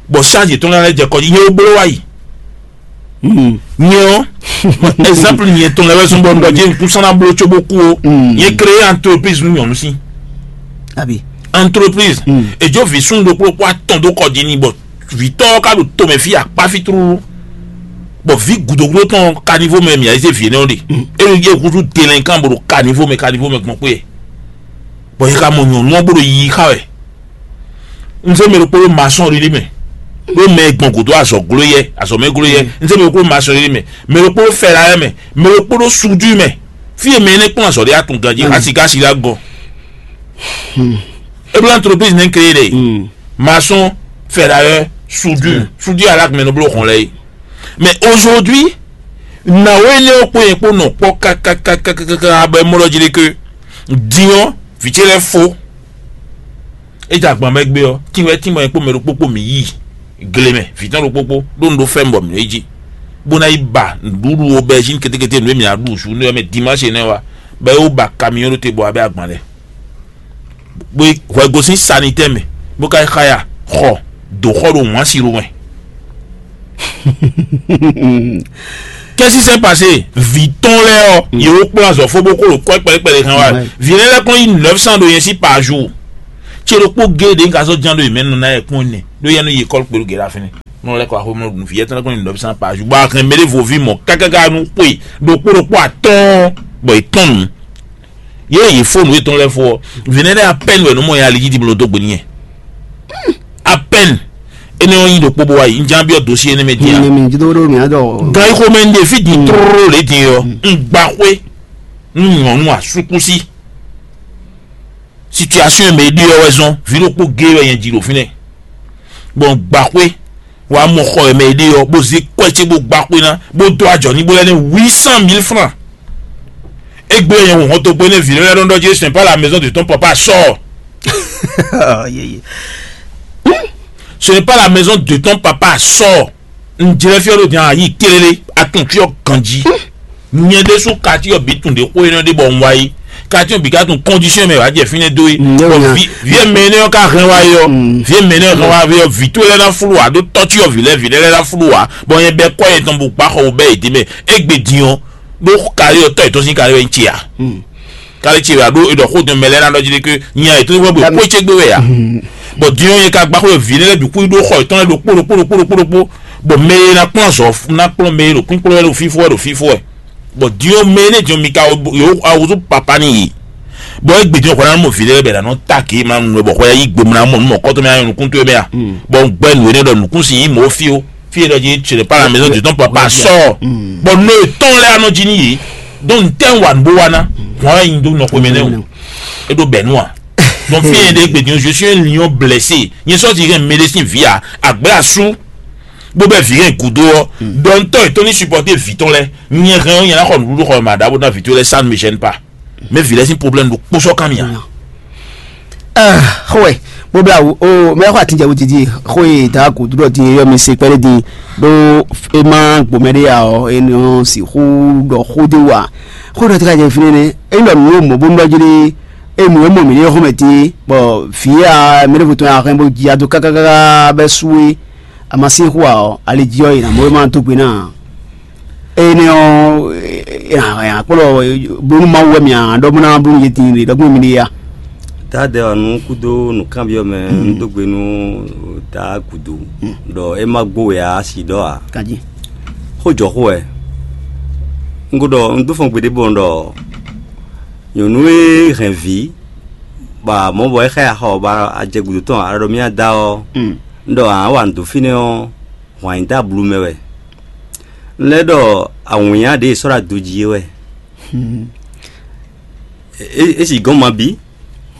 Bɔ sáàjì tɔn lɛ́ɛ jɛ kɔ jí, nyɛ ó bló wá yi. Nyɛ ɔ́, exemple nyɛ tɔn lɛ́ɛ wɛ zɔn bɔ un ɖɔ jɛ nukúnsan ná bló cóbó kú ó. Nyɛ créé entreprise nú nyɔ̌nu sín. Abi. Entreprise. Èjó vǐ súnnu ɖokpó ɖokpó atɔn dó kɔ jí n'i bɔ vǐtɔ́ ɔ́ ka ɖo tomɛ fí akpá fí tlúlú. Bɔ vǐ gǔdo gúdo tɔn ɔ́, caniveau mɛ mǐ ayizé vǐ énɛ́ ɔ́ ɖe. É ɖo yɛ húzú délinquant bó ɖo caniveau mɛ, caniveau mɛ gbɔn xwé. Bɔ yě ka mɔ nyɔ̌nu ɔ́ bó ɖo yiyi xá wɛ. Un zé mɛ ɖokpó ɖó maçonnerie mɛ, ɖó mɛ e gbɔn gǔdo azɔ̌ gló yɛ, azɔ̌ mɛ gló yɛ. Un zé mɛ ɖokpó ɖó maçonnerie mɛ, mɛ ɖokpó ɖó ferrailleur mɛ, mɛ ɖokpó ɖó soudure mɛ. Fí e mɛ énɛ́ kplɔ́n azɔ̌ ɖé atun ganjí, asi ká asi ɖó agɔ. É bló entreprise nɛ́ créé ɖe. Maçon, ferrailleur, soudure, soudure alak mɛ nɔ bló xɔn lɛ́ɛ é. Mais aujourd'hui, nǎwe énɛ́ ɔ́ kpó nyɛ kpó nɔ kpɔ́ kákákákákáká bɔ é mɔ ɖɔ jí ɖé ké din ɔ́, vǐ ce lɛ́ɛ fó. É jɛ agban mɛ gbé ɔ́, tínwɛ tínmɔ nyɛ kpó mɛ ɖokpó kpó mǐ yi gle mɛ, vǐ tɔn ɖokpó kpó ɖó nu ɖó fɛ́ bɔ mǐ nɔ yi jí, bó ná yi ba nǔɖuɖu aubergine kétékété nǔ e mǐ ná ɖu zǔ nú ɔ́ mɛ dimanche énɛ́ wá, bɔ é wó ba camion ɖó te bɔ wá bɛ́ agban lɛ́ɛ. Bó yi hwɛ gosín sanitɛ́ mɛ, bó ka yi xá ya xɔ dǒ xɔ ɖo wǎn si ɖo mɛ. Qu'est-ce qui s'est passé? Vǐ tɔn lɛ́ɛ ɔ́, yě wó kplɔ́n azɔ̌ fó bó kó ɖo kɔ́ kpɛɖé kpɛɖé hɛn wá. Vǐ lɛ́ɛ lɛ́ kɔn yí neuf cent ɖo nyɛ sí par jour. Cé ɖokpó géé ɖě un ka sɔ́ ján ɖó yě mɛ nɔ ná yɛ kpɔ́n nɛ ɖó yɛ nú yi école kpé ɖo gěɖa fínɛ́. Nɔ lɛ́ kɔ axɔ́mlɔ ɖu nǔ fí yɛ́ tɔn lɛ́ kɔn nyi neuf cent par jour, bɔ a hɛn mɛ ɖěvo ví mɔ̌ kákáká nú xwe ɖokpó ɖokpó atɔ́ɔ́n bɔ yě tɔn nǔ. Yě e yě fó nǔ yětɔn lɛ́ɛ fó ɔ́, vǐ nɛ́ lɛ́ɛ apɛ́n wɛ nǔ mɔ ya ali jí ɖiblo dó gbe n'i. Apɛ́n. Énɛ́ ɔ́ nyí ɖokpó bó wá yi, un ján byɔ́ dosí énɛ́ mɛ dín a. Gan yi xomɛ un ɖe fí din tlóló lě din ɔ́, un gba xwé nú nyɔ̌nu asúkúsí. Situation e mɛ e ɖe ɔ́ wɛ zɔn, vǐ ɖokpó géé wɛ nyɛ ji ɖo fínɛ́. Bɔ un gba xwé, wá mɔ xɔ e mɛ e ɖe ɔ́, bó zé kwɛ́ ce bó gba xwé ná, bó dó ajɔ n'i, bó lɛ́ ní huit cent mille francs. Égbé nyɛ hun hɔntogbó énɛ́ vǐ lɛ́ɛ ɖɔ jí, ce n'est pas la maison de ton papa, sors. Ce n'est pas la maison de ton papa, sors. Un jlɛ́ fí ɔ́ ɖo din ayi kélélé, a tunwun fí ɔ́ ganjí. Nyɛ ɖésú kati ɔ́ bǐ tunwun ɖě xó énɛ́ ɖé bɔ un wá yi. Kati ɔ́ bǐ ka tunwun condition mɛ wǎ jɛ fínɛ́ dó é. Bɔ vǐ vǐ e mɛ énɛ́ ɔ́ ka hɛn wá é ɔ́, vǐ e mɛ énɛ́ ɔ́ hɛn wá é ɔ́, vǐ towe lɛ́ɛ ná flú ǎ ɖó tɔ́ cyɔ vǐ lɛ́ɛ, vǐ lɛ́ɛ lɛ́ɛ ná flú ǎ, bɔ nyɛ bɛ́ kɔ́ yɛtɔn bó gbá xɔ wú bɛ́ yě dě mɛ. Égbé din ɔ́, ɖó kali ɔ́ tɔ́ yětɔn sín kali wɛ nyí ce ǎ. Kálí ce wɛ a ɖó e ɖɔ xó dɔn mɛ lɛ́ɛ ná ɖɔ jí ɖé ké nya yětɔn wɛ bɔ xó ce gbé wɛ a? Bɔ din ɔ́, nyɛ ka gbá xó e vǐ lɛ́ɛ lɛ́ɛ bǐ xwíɖó xɔ yětɔn lɛ́ɛ ɖokpó ɖokpó ɖokpó ɖokpó ɖokpó, bɔ mɛ e ná kplɔ́n azɔ̌ ná kplɔ́n mɛ e ɖo kpínkplɔ́n wɛ ɖo fífó wɛ ɖo fífó wɛ. Bɔ din ɔ́, mɛ énɛ́ din ɔ́, mi ka yǒ awúzú papá n'i yě. Bɔ égbé din ɔ́, hwɛ ná mɔ vǐ lɛ́ɛ bɔ è nǎ nɔ ta gě ma nu wɛ bɔ hwɛ yí gbe mlá mɔ nú mɔ kɔ́tɔ́ mɛ ná nyɔ nukún towe mɛ a? Bɔ un gbɛ́ nǔ énɛ́ ɖɔ nǔkún si yí mɔ̌ fí ó. Fí e ɖɔ jí ce n'est pas la maison du temps papa sɔ. Bɔ nɔ yětɔn lɛ́ɛ anɔ jí n'i yě. Donc ntɛ́ wǎn bó wá ná hwǎn wɛ nyi dó nɔ xomɛ nɛ́ o. É ɖó bɛ̌ nú a? Donc fí e ɖe gbe din je suis un lion blessé. Nyɛ sɔ́ ti hɛn médecin vǐ a, àgbɛ́ asú bó bɛ́ vǐ hɛn gǔdo ɔ́. Dɔntɔ́ yětɔn ní supporter vǐ tɔn lɛ́ɛ. Nyɛ hɛn ɔ́ nyɛ ná xɔ nǔɖuɖu xɔ mɛ aɖǎ bó ná vǐ towe lɛ́ɛ, ça ne me gêne pas. Mais vǐ lɛ́ɛ sín problème ɖo kpó sɔ́ kan mì a? Xó wɛ bó blá wǔ o mɛ xɔ atin jɛ wodidi xó e da gǔdo ɖɔ din e yɔ mi se kpɛɖé din ɖó e ma gbomɛ ɖé ya ɔ e nɔ sixú ɖɔ xó dé wa xó ɖɔ ti ka jɛ fínɛ́ nɛ e nɔ nǔ mɔ bó nɔ jí ɖe e nǔ e mɔ mǐ ɖe xɔmɛ din bɔ vǐ ya mɛ ɖěvo tɔn ya hɛn bó ji ado kákákáká bɛ sú e a ma sín xó a ɔ ali jí ɔ yi nǎ mɔ e ma dó gbe ná. Énɛ́ ɔ́, è nǎ kplɔ́ bónú Mawu wɛ mì a ɖɔ bó ná bló yě din ɖe ɖɔgbɛ́n mi ɖe ya. Dadɛ ɔ́ nú kúdó nǔkanbyɔ́ mɛ un dó gbe nú Daa gǔdo ɖɔ é má gbó wɛ ǎ asi ɖɔ ǎ. Kají. Xó jɔ xó wɛ. Un ko ɖɔ un dó fɔn gbeɖé bɔ un ɖɔ nyɔ̌nu e hɛn vǐ bɔ mɔ̌ bɔ é xá ya xɔ bɔ a jɛ gǔdo tɔn a ɖɔ mì ada ɔ́, un ɖɔ ǎ wa nǔ dó fínɛ́ ɔ́, hwan nyi dó ablu mɛ wɛ. Un lɛ́ ɖɔ awǐnnya ɖě è sɔ́ ɖo ado jí é wɛ. É é si gɔ́n ma bí,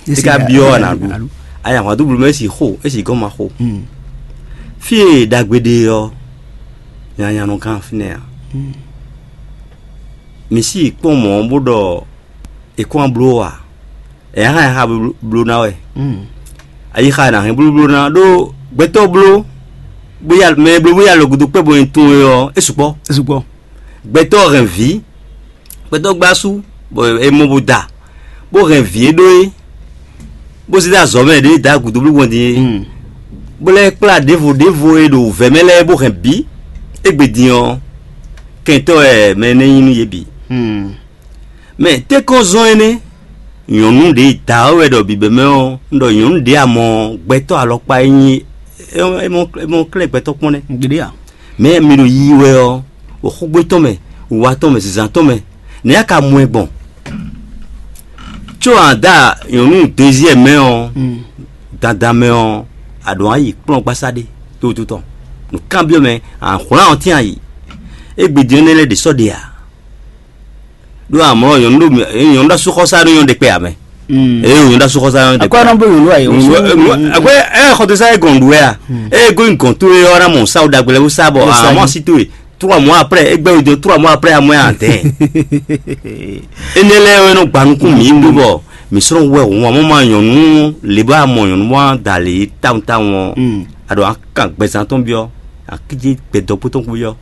é ka byɔ́ a nǎ ɖu. Ayǎhwandúblu mɛ é si xo, é si gɔ́n ma xo. Fí e ɖagbe ɖe ɔ́, nyanya nɔ gán fínɛ́ ǎ. Mi sí yi kpɔ́n mɔ̌ bó ɖɔ è kɔn wá bló ǎ. È nǎ hɛn xá bló ná wɛ. Ayixa è nǎ hɛn blóbló ná ɖó gbɛtɔ́ bló bó ya mɛ e bló bó ya lɔ gúdo kpɛ́ bɔ è tunwun é ɔ́, é sukpɔ́. É sukpɔ́. Gbɛtɔ́ hɛn vǐ, gbɛtɔ́ gbá asú, bɔ è mɔ bó da, bó hɛn vǐ e ɖó é, bó zé dó azɔ̌ mɛ ɖě da gǔdo bló gbɔn din é, bó lɛ́ kplá ɖěvo ɖěvo e ɖo wǔvɛ́ mɛ lɛ́ɛ bó hɛn bǐ. Égbé din ɔ́, kɛntɔ́ wɛ mɛ énɛ́ nyí nú yě bǐ. Mɛ tɛ́nkɔ́n zɔ́n énɛ́? Nyɔ̌nu ɖě da ɔ́ wɛ ɖɔ bǐbɛ́mɛ ɔ́, un ɖɔ nyɔ̌nu ɖě a mɔ gbɛtɔ́ alɔkpa e nyí é mɔ klɛ́ gbɛtɔ́ kpɔ́n nɛ́. Gbeɖé a? Mɛ mi ɖo yiyi wɛ ɔ́, ɖo xógbé tɔn mɛ, wiwa tɔn mɛ, zǐnzán tɔn mɛ, nɛ̌ a ka mɔ ɛ gbɔn? Có a da nyɔ̌nu deziyɛ mɛ ɔ́, dandan mɛ ɔ́, a ɖǒ a yi kplɔ́ngbasá ɖé tótó tɔn. Nǔkanbyɔ́ mɛ, a hwlán ɔ́ tɛ́n a yi. Égbé din énɛ́ lɛ́ɛ ɖě sɔ́ ɖe ǎ. Ɖó amlɔ nyɔ̌nu ɖo nyɔ̌nu ɖo asúxɔsá ɖo nyɔ̌nu ɖe kpɛ ǎ mɛ. Eye nyɔ̌nu ɖo asúxɔsá ɖo nyɔ̌nu ɖe kpɛ. Akɔ na bó nyɔ̌nu ayé. Akɔ ɛ xɔtɔsá yɛ gɔn ɖu wɛ a? Eye gónyi gɔn towe ɔ́ ná mɔ sa ɖagbe lɛ́ɛ bó sá bɔ amɔ asi towe trois mois après, e gbɛ wo dó trois mois après amɔ yɛ antɛ. Énɛ́ lɛ́ɛ wɛ nɔ gba nukún mǐ ɖó bɔ mǐ sɔ́ nɔ wɛ hǔn amɔ ma nyɔ̌nu lě bɔ amɔ nyɔ̌nu ma da lě tawun tawun ɔ́, a ɖo akan gbɛzán tɔn byɔ́, akíjé gbɛdɔkpó tɔn kú byɔ́.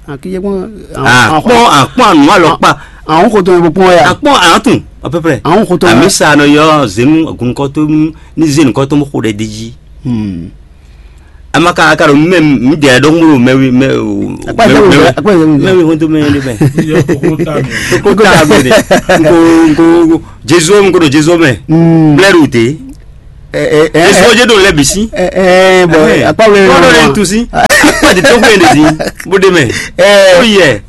Akíjé kpɔn. Akpɔn akpɔn anu alɔkpa. Àwọn kò tó yẹ kpɔn ya. Akpɔn atun à peu près. Àwọn kò tó yẹ. Àmì sa nɔ yɔ zenu agunkɔtɔ ní zenu kɔtɔ mo xo ɖe di dzi. Amaka aka ɖo mɛ mi dɛ ɖɔ ŋgolo mɛ wi mɛ o. Akpa yɛ wuli akpa yɛ wuli. Mɛ wi ho to mɛ de mɛ. Koko ta mi. Koko ta mi de. Nko nko jesu nko ɖo jesu mɛ. Blɛ ɖo te. Esɔjɛ ɖo lɛ bisi. Ɛɛ bɔn akpa wuli. Kɔdɔ de tusi. Akpa de tɔgbe de di. Bo de mɛ. Ɛɛ. Oyɛ.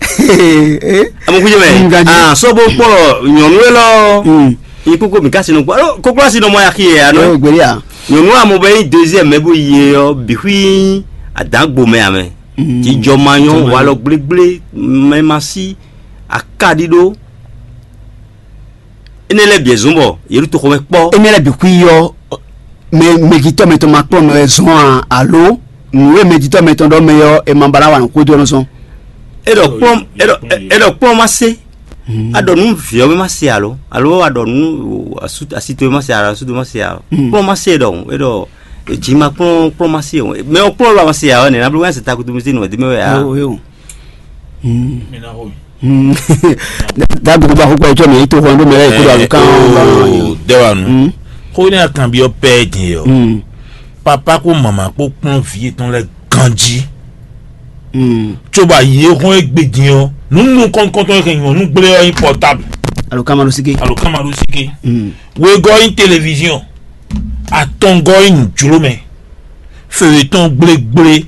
Amɔkujɛ mɛ. Ah sɔbo kpɔ nyɔnu lɔ. Yi koko mi kasi nɔ kpɔ. Alo koklo asi nɔ mɔ ya xi yɛ ya nɔ. Nyɔnu amɔ bɛ yi deuxième mɛ bo yi yɛ yɔ bi xui. Adan gbo mɛ amɛ. Jijɔ ma nyɔ walɔ gblégblé mɛ ma si. Akaɖiɖo. Énɛ́ lɛ́ɛ bǐ e zɔ́n bɔ yě ɖo toxo mɛ kpɔ́. Énɛ́ lɛ́ɛ bǐ xwí ɔ́, mɛ mɛjitɔ́ mɛtɔn ma kplɔ́n mɛ wɛ zɔ́n a, alo nǔ e mɛjitɔ́ mɛtɔn ɖɔ mɛ ɔ́, è ma ba ná wa nǔ xwedó ɔ́ nɔ́ zɔ́n? É ɖɔ kplɔ́n é ɖɔ é ɖɔ kplɔ́n ma se. A ɖɔ nú vǐ ɔ́ mɛ ma se alo alo a ɖɔ nú asito e ma se alo asito ma se alo kplɔ́n ma se ɖɔ é ɖɔ jǐ ma kplɔ́n kplɔ́n ma se o mɛ ɔ́ kplɔ́n lɔ ma se alo nɛ na bló wɛn se takutu mi se nǔ ɛdí mɛ wɛ a. Dabi ko ba ko kpɛ tsɔ mi to hɔn do mɛ ko da kan. Dɛwanu. Ko ne akan bi ɔpɛ din yɔ. Papa ko mama kpó kplɔn vi etɔn lɛ ganji. Tsoba yi ehɔn egbe din ɔ nunu kɔntɔn e nyɔnu gblé ɔ nyi portable. Alo kamaɖosíké. Alo kamaɖosíké. Wegɔ́ nyí téléviziɔn, atɔngɔ́ nyí nǔjlómɛ, fewetɔ́n gblégblé,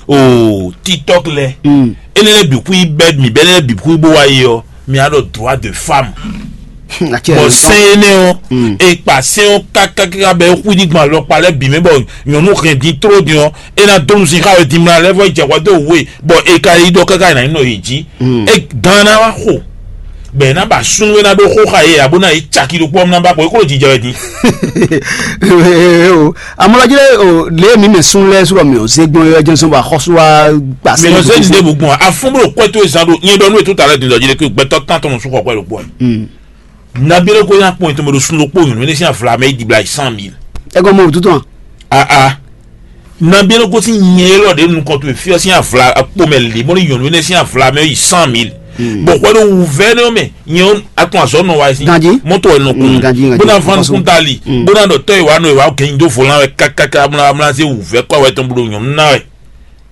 o TikTok lɛ. Énɛ́ lɛ́ɛ bǐ xwí bɛ́ mǐ bɛ́ lɛ́ɛ bǐ xwí bó wá yi ɔ́, mi á ɖɔ droit de femme. Bɔ sɛn énɛ́ ɔ́, e kpa sɛn ɔ́ kákáká bɛ xwí ní gbɔn alɔkpa lɛ́ɛ bǐ mɛ bɔ nyɔ̌nu hɛn din tló din ɔ́, é ná dó nusín xá wɛ din mla lɛ́ɛ vɔ yi jɛ hwɛ dó wǔ e bɔ e ka yi ɖɔ káká yi ná nyí nɔ yě jí. E gan ná wá xo bɔ è nǎ ba súnnu e ná ɖó xó xa yě ǎ bó ná yě caki ɖokpó ɔ́ ná ba xo é kó ɖo jijɛ wɛ din. O amɔlɔjí lé o lě mi mɛ sún lɛ́ɛ sɔrɔ mi ò zé gbɔn yɔ jɛnsɔn bɔ axɔ́sú wa gba sɛ. Mi ò zé ní ɖěbǔ gbɔn afún bó ɖo kwɛ tó e zán ɖo nyɛ ɖɔ nú e tó ta lɛ din dɔjí lé kí gbɛtɔ tán tɔn sún xɔ kwɛ ɖokpó ɛ. Nabí lé kó nya kpɔn ètò mɛ ɖo sún ɖokpó nyɔ̌nu énɛ́ sín avla mɛ é dibla yi cent mille. Ɛ gɔn mɔ òtútù hàn. Aa. Nabí lé kó sín nyɛ élɔ́ ɖě nukɔn towe fí ɔ́ sín avla akpo mɛ lě bɔ ní nyɔ̌nu énɛ́ sín avla mɛ yi cent mille. Bɔ hwɛ ɖo wǔvɛ́ nɛ́ mɛ nyɛ atún azɔ̌ nɔ wa sí. Ganjí. Mɔtò wɛ nɔ kun. Ganjí, ganjí. Bó ná ván nukún dali. Bó ná ɖɔ tɔ́ ìwà nɔ ìwà gɛnyi dó vɔlán wɛ kákáká bó ná bó ná zé wǔvɛ́ kɔ wɛ tɔn bó ɖo nyɔ̌nu ná wɛ.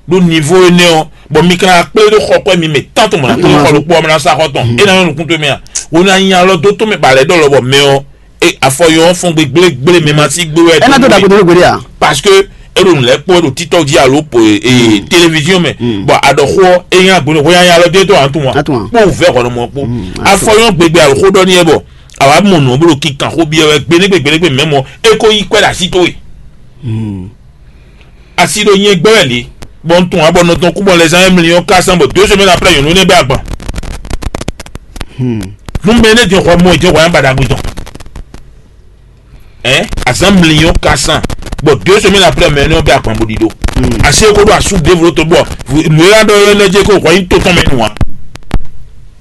Ɖó nivo énɛ́ ɔ́, bɔ mi ka kplé ɖó xɔ kɔ́ mi mɛ tán tɔn mɔ̌ ná kplé xɔ ɖokpó ɔ́ mɛ ná sá xɔ tɔn é ná nyɔ́ nukún towe mɛ a? Wo ná nyi alɔ dó tɔn mɛ ba lɛ̌ ɖɔ lɔbɔ mɛ ɔ́, afɔ yɔ ɔ́ fɔn gbégblégbé mɛ ma sí gbé wɛ. Ɛ ná dó ɖagbe dó gbeɖé a? Parce que é ɖo nǔ lɛ́ɛ kpɔ́n ɖo TikTok jí alo po téléviziɔn mɛ, bɔ aɖɔxó ɔ́ é nyí agbóni hó nyanya alɔ dó é tó à ń tún wa kpó vɛ hɔnɔmɔ kpó. Afɔ yɔ gbégbé alo xó ɖɔ ní ɛ bɔ àwa mɔ nǔ ɔ́ bó ɖo kinkan xó byɔ́ wɛ gbeɖégbé gbeɖégbé mɛ mɔ é kó yí kwɛ́ ɖo así towe. Asi ɖo nyɛ gbɛ wɛ lě, bɔ un tunwun abɔ nɔ tɔn kú bɔ lɛzan e mliyɔn ka sán bɔ deux semaines après nyɔ̌nu énɛ́ bɛ agban. Nú mɛ énɛ́ din xɔ mɔ ìjọ hwayán baɖagbe tɔn. Ɛ azán mliyɔn ka sán bɔ deux semaines après mɛ énɛ́ bɛ agban bó ɖiɖo. Asi e ko ɖo asú dévlo to bɔ nǔ e ɖɔ énɛ́ jɛ ko hwɛ nyí to tɔn mɛ nù a.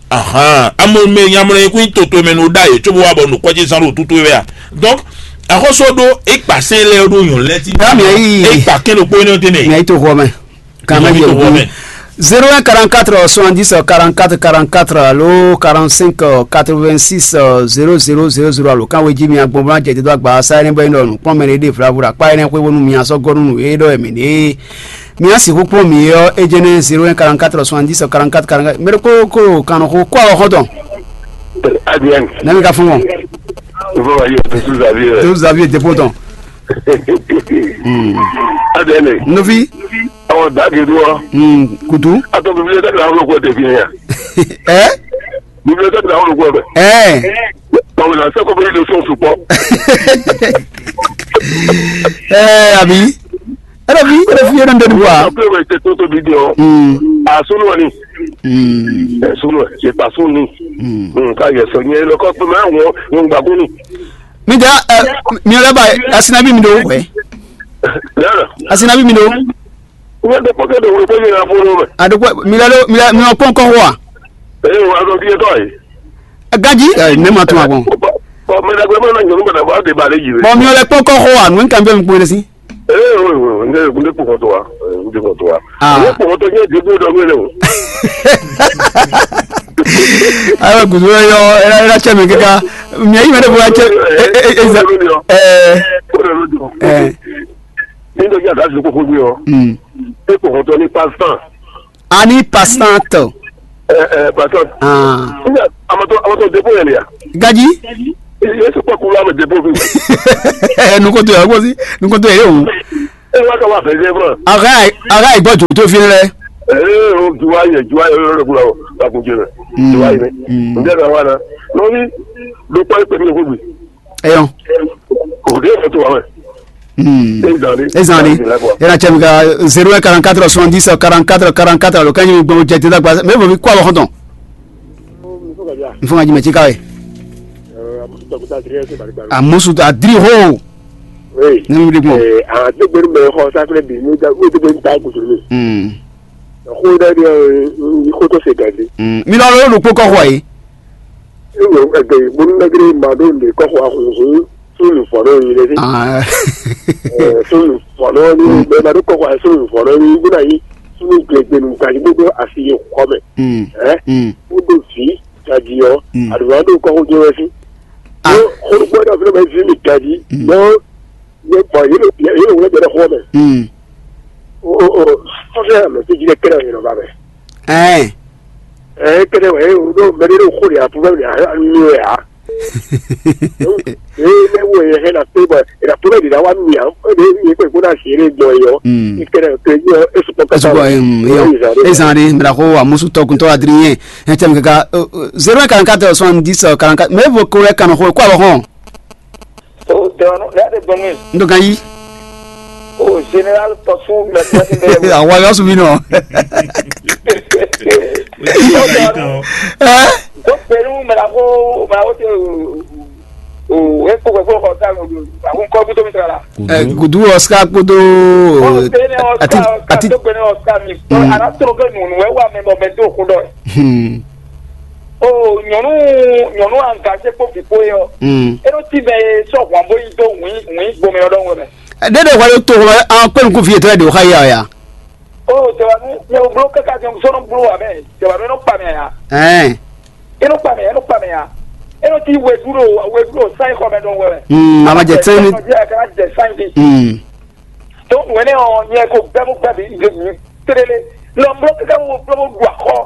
Ahan, amɔ mɛ nyamlɛ yɛ kún toto mɛ no ɖa yě tso bó wá bɔ nukɔn ce zán ɖo tutu wɛ a. Donc axɔsɔ ɖó é kpa sɛn lɛ ɖó nyɔ̌ lɛ ti. Dá mi yí. É kpa kɛn ɖokpó énɛ́ tɛnɛ. Mi yí to xɔ mɛ. Kàmá yẹ wò mɛ. Zéro un quarante quatre soixante dix quarante quatre quarante quatre alo quarante cinq quatre vingt six zéro zéro zéro zéro alo kan wé jí mi agbɔnbɔn jɛ dídó agba sáyẹn bɔ yín lọ nù kpɔn mɛ ɖé ɖé flavura kpa yẹn xwé wónú mi asɔ gɔnu nù é ɖɔ yɛ mɛ ɖé. Mi á sixú kpɔ́n mǐ ɔ́, é jɛ́n nɛ́ zéro un quarante quatre soixante dix quarante quatre quarante quatre mɛ ɖokpó ko kannɔxó kó awɔ xɔ́ntɔn. Adrian. Nɛ́ mi ka fún wọn. Vɔ ayi o tuntun zavi rẹ. Tó zavi dépôt tɔn. Adrian. Novi. Àwọn dàgé dúró. Kutu. Atɔ bíbélì dàgé àwọn olùkọ́ tẹ̀ fi hàn. Ẹ́. Bíbélì dàgé àwọn olùkọ́ bẹ̀. Ẹ́. Àwọn ìlànà sẹ́kọ̀ọ́ bẹ́ẹ̀ ló sọ̀tún pọ̀. Ẹ́ àbí. Ena fi ena fi ena ndoni bua. Ape wɛ te toto bi diɔ. Asunu wani. Esunu wɛ se ta sunu ni. Nka yɛ sɔ nyɛ lɔ kɔ tuma wɔ nyɛ gba kuni. Mi da mi lɛ ba asinabi mi do wɛ. Yala. Asinabi mi do. Wɛ de kpɔkɛ de wɛ kpɔkɛ na fɔlɔ mɛ. Adokwa mi lɛ do mi lɛ mi lɛ kɔn kɔn wa. Ee wa dɔ bi etɔ ye. Gaji ne ma tún agbɔn. Ɔ mɛ dagbe mɛ na nyɔnu mɛ dagbe ɔde ba le yi. Bɔn mi lɛ kpɔkɔ xɔ wa nu nkan bɛ mi kpɔn si. Ee o o ne ne kpɔkɔ to wa ne kpɔkɔ to wa. Ne kpɔkɔ to nye degbo dɔ mi le o. Ayiwa gudu yɔ ɛna ɛna cɛ mi kika mi ayi mɛ de bo wa cɛ. Ɛɛ ɛɛ. Ni dɔ jẹ a da fi koko gbe yɔ. E kpɔkɔ to ni pa san. Ani passant. Ɛ ɛ patɔn. Ah. Nga amatɔ amatɔ depo yɛ lia. Gaji. Yesu kpɔ kulu amɛ depo fi. Ɛ nukoto yɛ wosi nukoto yɛ o. E wa ka wa fɛ zɛ fún. Aga aga igbɔ jo to fi lɛ. Ee o juwa yɛ juwa yɛ yɔrɔ kula o ka kun jɛ. Juwa yɛ. N tɛ ka wa na. N'o bi do kpɔ ekpe mi ko bi. Eyɔn. O de yɛ to wa mɛ. Hmm. Ezali. Ezali. Ezali la quoi. Ena cɛ mi ka zéro un quarante quatre soixante dix quarante quatre quarante quatre lo kanyi gbɔn jɛ tɛ dagba mɛ bɔ mi kɔ alɔ xɔntɔn. N fɔ ka jumɛn ti ka ye. Amusu ta diri ho. Oui. Ne mi di gbɔn. Aa degbe mi xɔ sakle bi mi da o degbe mi ta kutu mi. Hmm. Xo da di xo to se gadi. Hmm. Mi lɔ lo lo kpokɔ xɔ ye. Ewe ɛgbɛ bonu nagre ma ɖo nɖe kɔxɔ ahunhun sunu fɔlɔ yi ɖe fi. Sunu fɔlɔ ni bɛ ma ɖo kɔxɔ sunu fɔlɔ ni buna yi sunu gbegbe nu gaji gbogbo asi yi xɔ mɛ. Ɛ o ɖo vi gaji yɔ aɖuwa ɖo kɔxɔ jɛ wɛ fi. Xɔlukpɔ ɖe fi ɖe bɛ vi mi gaji bɔ yɛ bɔ yɛ yɛ wɛ jɛ ɖe xɔ mɛ. O o o sɔfɛ mɛ ti ji ɖe kɛlɛ yɛ lɔ ba mɛ. Ɛɛ. Ɛ kɛnɛ wɛ o ɖo mɛ ɖe ɖo xo ɖe apu mɛ ɖe anu wɛ a. Ee mɛ wo yɛ hɛn na pe bɔ e na pe bɛ ɖe na wa mi a e ɖe mi kpe ko na si ɖe gbɔ yɔ. Mm. E kɛnɛ pe yɔ e sukpɔ kata Esukɔ, em, yɔ. Ezan ɖe, mɛ ɖaxo amusu tɔkuntɔ adriyɛn. Ɛ tɛ mi kaka, euh, euh, zéro un quarante-quatre soixante-dix, euh, quarante-quatre. Mɛ vo ko lɛ kanɔ xo, kó abɔ xɔn. O tɛwanu lɛ de gbɔnmi. N ɖo gan yí. O général tɔsu mɛ tɔsu mɛ. Àwọn ayọ̀ sùn mí nọ. Ẹ. Tó pẹ̀lú mẹ́ta kó mẹ́ta kó tẹ o o e kó kó kó kó ta o o kó kó tó mi tẹ̀lé la. Ẹ, Gudu Oscar kpódó Ɔ pé ne àti Oscar Oscar àti tó pé ne Oscar mi. Ɔ ana tó ké nùnú ẹ wà mí bọ̀ mẹ́ tó kó dọ̀ ẹ. Hmm. O nyɔnu nyɔnu angaze kpó vǐ kpó yɔ. Hmm. E ɖo tí mɛ e sɔ hwan bó yi dó wǐn wǐn gbomɛ ɔ́ ɖɔhun wɛ mɛ. Ɖé ɖe hwɛ ɖo to hwɛ an kpé nukún fi yětɔn ɖe wòxa yá ya. O tɛwanu nyɛ o bló kaka nyɛ sɔnɔ bló wa mɛ tɛwanu e nɔ kpa mɛ ya. Ɛn. E nɔ kpa mɛ ya e nɔ kpa mɛ ya. E nɔ tí wedu ɖo wedu ɖo sáyé xɔ mɛ ɖɔhun wɛ mɛ. Hmm, a ma jɛ tɛn ni. Kana jɛ sáyé di. Hmm. Tó wɛnɛ ɔ nyɛ ko gbɛmú gbɛmí tlélé. Lɔ bló kaka wo bló ɖu axɔ.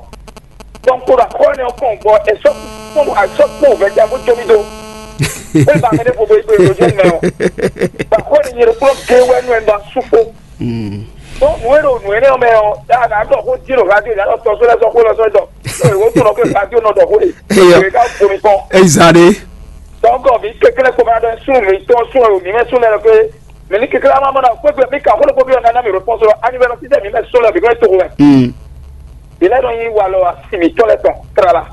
Dɔnku ɖo axɔ énɛ́ ɔ́ kɔn bɔ è sɔ́ kpɔ́n ɖo azɔ́ kpɔ́n wǔvɛ́ ja bó jó mì dó. É ba mɛ ɖé vovo yi kplé ɖo jɛ mɛ ɔ́. Bɔ axɔ énɛ́ nyɛ ɖokpló gé wɛ nú ɛ ɖo asú kpó. Tó nǔ e ɖo nǔ énɛ́ ɔ́ mɛ ɔ́, yá nǎ ɖɔ xó jí ɖo radio yǎ ɖɔ tɔsó lɛ́ɛ sɔ́ xó lɔ sɔ́ dɔ. Tó ìwé tó nɔ pé radio nɔ ɖɔ xó e. Eyɔ. Ìwé ká bomi kpɔn. Eyi zan ɖe. Dɔnkɔ mi kékeré kpɔmɔ adɔ sún mi tɔn sún ɛ o mi mɛ sún lɛ lɔ pé. Mɛ ní kékeré ama mɔ na kpégbé mi ka xó lóko bí ɔ̀nà mi rò pɔ́n sɔlɔ anivɛlɛ títẹ̀ mi mɛ sɔlɔ bí kò tó wɛ. Hmm. Ilé nɔ yí wa lɔ asi mi tɔlɛ tɔn trala.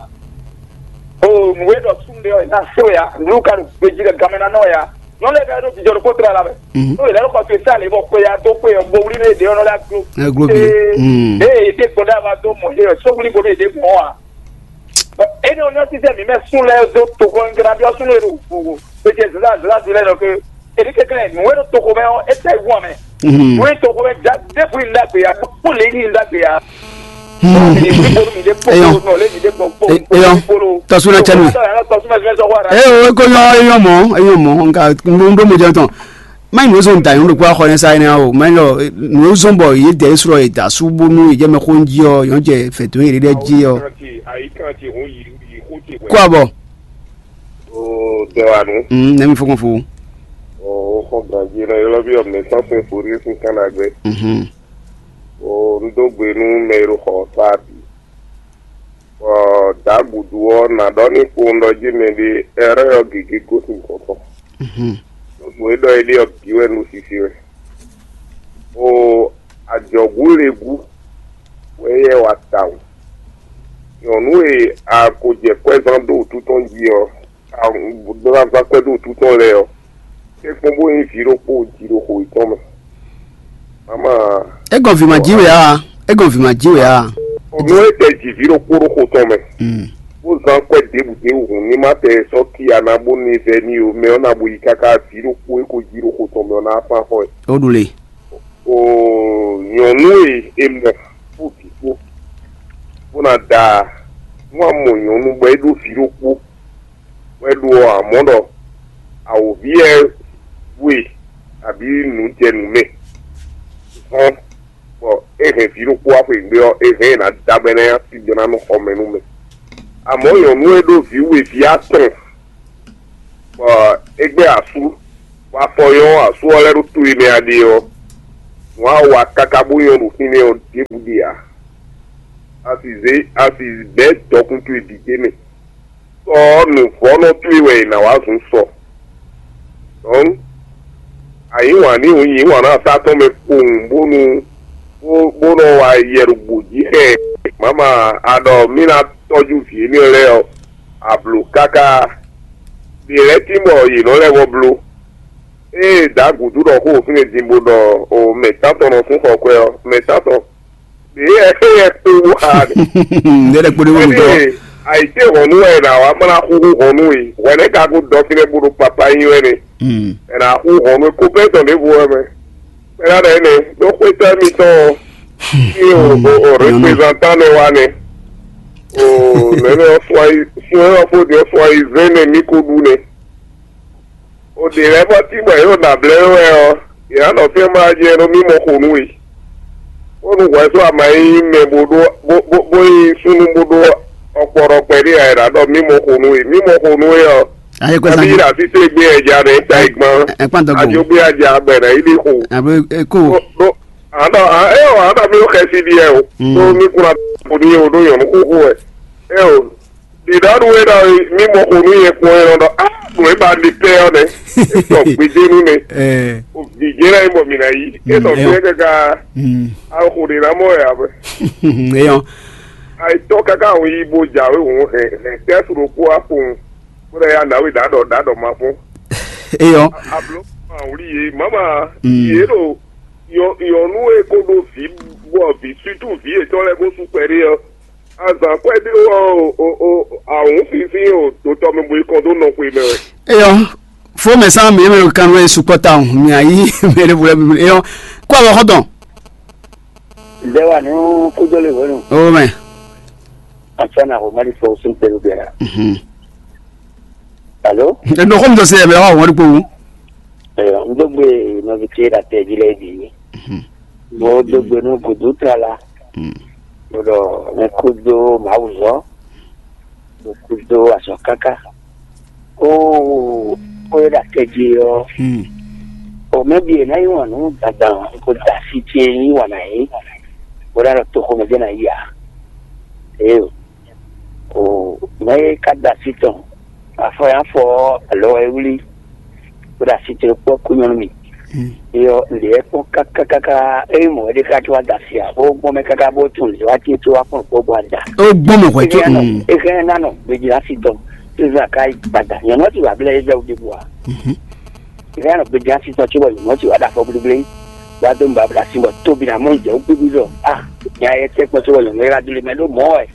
O nùwé dɔ sún de ɔ na se ya nu ka nu gbéjì lɛ gamɛ na nɔ ya. Nyɔnu lɛ ka ɖo jijɔ ɖo kó trala mɛ. Mhm. Tó ilé lɔkɔ tó sa lè bɔ kpé ya tó kpé yɔ gbowuli ne de ɔnɔ la glo. Ɛ glo bi. Hmm. Ee ede gbɔdɔ a ma dó mɔ ye sɔwuli gbɔdɔ ede mɔ wa. Eni ɔ́ nyɔ́ sísɛ́ mǐ mɛ sún lɛ́ɛ dó toxo nyi jlá byɔ́ súnnu e ɖo wǔvú. Pe ce zǎnzǎn zǐlá zǐlá nɔ ke. Èɖí kɛnklɛ́n nǔ e ɖo toxo mɛ ɔ́, é tɛ wú amɛ. Nǔ e toxo mɛ ɖěbǔ yi ɖagbe ǎ, kpó lě yi ɖagbe ǎ. Mǐ ɖe kpó mǐ ɖe kpó nɔ lě mǐ ɖe gbɔn kpó. Eyɔ tɔsúnà cɛnu. Tɔsúnà cɛnu sɔ́ wá rà. Eye o eko nyɔ eyɔ mɔ eyɔ mɔ nka ŋɖo mɔ jɛ tɔn. Mɛ nǔ zɔn da nyɔnu ɖokpó axɔ nɛ sa énɛ́ o mɛ lɔ nǔ zɔn bɔ yě dɛ srɔ yě da sú bónú yě jɛ mɛ xó jí ɔ yɔn jɛ fɛtó yě ɖɛ jí ɔ. Kó abɔ. O tɛ wa nu. Mm, nɛmi fɔkɔn fo. O xɔ ganji na yɔlɔ bi ɔmɛ sɔn fún forí fún kana gbɛ. Mhm. O n dó gbe nú mɛ e ɖo xɔ sa bi. Bɔ dǎgudu ɔ́, nǎ ɖɔ n'i kpowun ɖɔ jí mɛɖé ɛrɛ́ ɔ́ gěgé gosín gɔ̌n tɔn. Nǔ e ɖɔ é ɖe ɔ́ bǐ wɛ un ɖo sisi wɛ. O ajɔ̌gúlegun wɛ éyɛ́ wa tawun. Nyɔ̌nu e a ko jɛ kwɛ́zán ɖó wǔtu tɔn jí ɔ́, a ɖó ná zán kwɛ́ ɖó wǔtu tɔn lɛ́ɛ ɔ́, é kpɔ́n bó nyí vǐ ɖokpó jiɖoxo yětɔn mɛ. Mama. É gɔn vǐ ma jí wɛ a? É gɔn vǐ ma jí wɛ a? Nú é tɛ ji vǐ ɖokpó ɖó xo tɔn mɛ, bó zán kwɛ́ ɖěbǔ ɖěbǔ hǔn ní má tɛ sɔ́ cí ana bó ní vɛ n'i ó, mɛ ɔ́ ná bo yi káká vǐ ɖokpó e ko jí ɖó xo tɔn mɛ ɔ́ ná fán xɔ ɛ. Ó ɖu le. O nyɔ̌nu e è mɔ kpó vǐ kpó, bó ná da nú a mɔ nyɔ̌nu bɔ é ɖó vǐ ɖokpó, bɔ é ɖó ɔ́, amɔ̌ ɖɔ awǒvi ɛ we abǐ nǔ jɛ nǔ mɛ hɔn, bɔ é hɛn vǐ ɖokpó wá xweyǐgbe ɔ́, é hɛn ɛ ná da bɔ é ná nyí asígbɛ́ ná nɔ xɔ mɛ nú mɛ. Amɔ̌ nyɔ̌nu e ɖó vǐ we vǐ atɔn, bɔ é gbɛ́ asú, bɔ afɔ nyɔ́ asú ɔ́ lɛ́ ɖo to e mɛ a ɖe ɔ́, nǔ a wa káká bó nyɔ́ ɖo fínɛ́ ɔ́ ɖěbǔ ɖe ǎ. A sì zé a sì bɛ̌ dɔkun towe bǐ d'é mɛ. Sɔ ɔ́, nǔvɔ́nɔ towe wɛ è nǎ wá zun sɔ. Dɔ̌n, a yǐ wǎn n'i hǔn yǐ wǎn nú asá tɔn mɛ kpowun bónú bó bó nɔ wa yɛ ɖo gbǒ jí xɛ ɛ. Mǎma, a ɖɔ mí ná tɔ́jú vǐ énɛ́ lɛ́ɛ ɔ́, a blǒ káká. Ɖě lɛ́ɛ tín bɔ yě nɔ lɛ́ vɔ bló. Ée dǎ gǔdú ɖɔ xó fínɛ́ din bó ɖɔ o mɛ tántɔn nɔ sín xɔ kwɛ ɔ́, mɛ tántɔn ɖě yɛ é yɛ kpé wú xá ɖe. Ndé ɖe kpódó wúlú tɔn. Ée àyíké hɔnú wɛ è nǎ wá bó ná xúxú hɔnú e, hwɛ̌nɛ́ ka ko dɔ fínɛ́ bó ɖo papá nyi wɛ nɛ. È nǎ xú hɔnú e kópɛ́tɔn ɖěvo wɛ mɛ. Kpɛɖá ɖɔ énɛ́ ɖó xwétɔ́ mitɔn ɔ́, ní o o o reprezantan nɛ wá nɛ. O nɛnɛ ɔ́ fún ayi fún ɛ ɔ́ fó ɖi ɔ́ fún ayi zɛ́n nɛ mí ko ɖu nɛ. O ɖě lɛ́ɛ fɔ tí bɔ yě ɖo nǎ blɛ́ wɛ ɔ́, yě ná nɔ fɛ́n mlá jɛ ɖó mí mɔ xo nú we. Bónú hwɛ̌ sɔ́ ama nyí mɛ bó ɖó bó bó bó nyí súnnu bó ɖó Ɔkpɔɖɔkpɛ ɖé a ɖa ɖɔ mí mɔ xo nú we, mí mɔ xo nú we ɔ́. Ayé kɔ Nabí sanji. Ɖa sí té gbé ɛja ɖe ta ìgbɔn. Ɛ kpán dɔgbɔn. Ajo gbé aja gbɛ ɖe yi ɖi xo. Abe eko. Ɖo àná ɛ ɔ àná mi ó xɛ sí ɖi ɛ o. Mm. Ɖó mí kún ná kó ní o ɖó nyɔ̌nu xóxó ɛ. Ɛ o. Ɖiɖɔɖu e ɖɔ mí mɔ xo nú nyɛ kpɔ́n é nɔ ɖɔ á nǔ e ba ɖi pɛ ɔ́ nɛ́. Etɔ gbedénu nɛ. Ɛ. O vǐ jɛ lɛ́ nyí bɔ mǐ ná yí. Mm, Etɔ ɛ. Fíɛ káká Mm. Awo xo ɖe ná mɔ ɛ abe. Eyɔn. Ayitɔ káká àwọn yí bó jǎwe òun hɛn hɛn tɛ́sù ɖokpó akpowun. Bó ɖɔ ya nǎwe ɖǎɖɔ ɖǎɖɔ ma fún. Eyɔn. Ablo ma wuli yé mama Mm. Yé ɖo yɔnu e ko ɖo vǐ bɔ vǐ sutu vǐ yětɔn lɛ́ɛ bó sú kpɛɖé ɔ́. Azǎn kwɛ́ ɖé ɔ́ o o o awǔn fínfín o dotɔ mɛ bo yi kɔn dó nɔ xwe mɛ wɛ. Eyɔn. Fo mɛ sán mi mɛ kan wɛ sukpɔ ta o mi ayi mɛ ɖe bolɛ mi eyɔn. Kó awɔ xɔtɔn. Ǹjẹ́ wà ní kújó lè wẹ́nu? O mɛ. Àti àná kò má di fọ sún pẹ̀lú bẹ̀rẹ̀. Mhm. Alo? Ndo xɔm dɔ se yɛ mɛ wa wɔn kpo. Ɛɛ, n dó gbe nɔvi ce ɖa tɛ jí lɛ bǐ. Mhm. Mo dó gbe nú gǔdú tlala. Mm. Mo ɖɔ mɛ kúdó màwùzɔ, mo kúdó azɔ̌ káká. Ó ó é ɖo akɛ jí ɔ́, Mm. o mɛ bi è ná yí wǎn nú dandan kó da asi ce yí wǎn ná yí, bó ná ɖɔ toxo mɛ jɛ ná yí ǎ. Ee, o mɛ e ka da asi tɔn, afɔ ya fɔ alɔ wɛ wlí, bó ɖo asi ce kpɔ́ kú nyɔ́nú mi. Mm. Eyɔ lě ɛ kpɔ́n kákákáká, ényí mɔ̌ é ɖe ká tó wá da asi ǎ, bó gbɔn mɛ káká bó tún lě wá tí tó wá kpɔn kpɔ́ bó wá da. Ó gbɔn mɛ hwɛ tó. Ehɛn nɔ, mm. Ehɛn nɔ gbedzi asi tɔn, Israel ka yi gbada. Nyɔ̌nu ɔ́ ti wà blɛ́ Israel ɖěbǔ ǎ. Mhm. Ehɛn nɔ gbedzi asi tɔn cóbɔ nyɔ̌nu ɔ́ ti wà ɖo afɔ blíblí, wá dó nǔbabla sin bɔ tóbi ná mɔ jɛ wú gbígbí ɖɔ a nya yɛ tɛ́ kpɔ́n cóbɔ nyɔ̌nu é wá dó lé mɛ ɖó mɔ̌ wɛ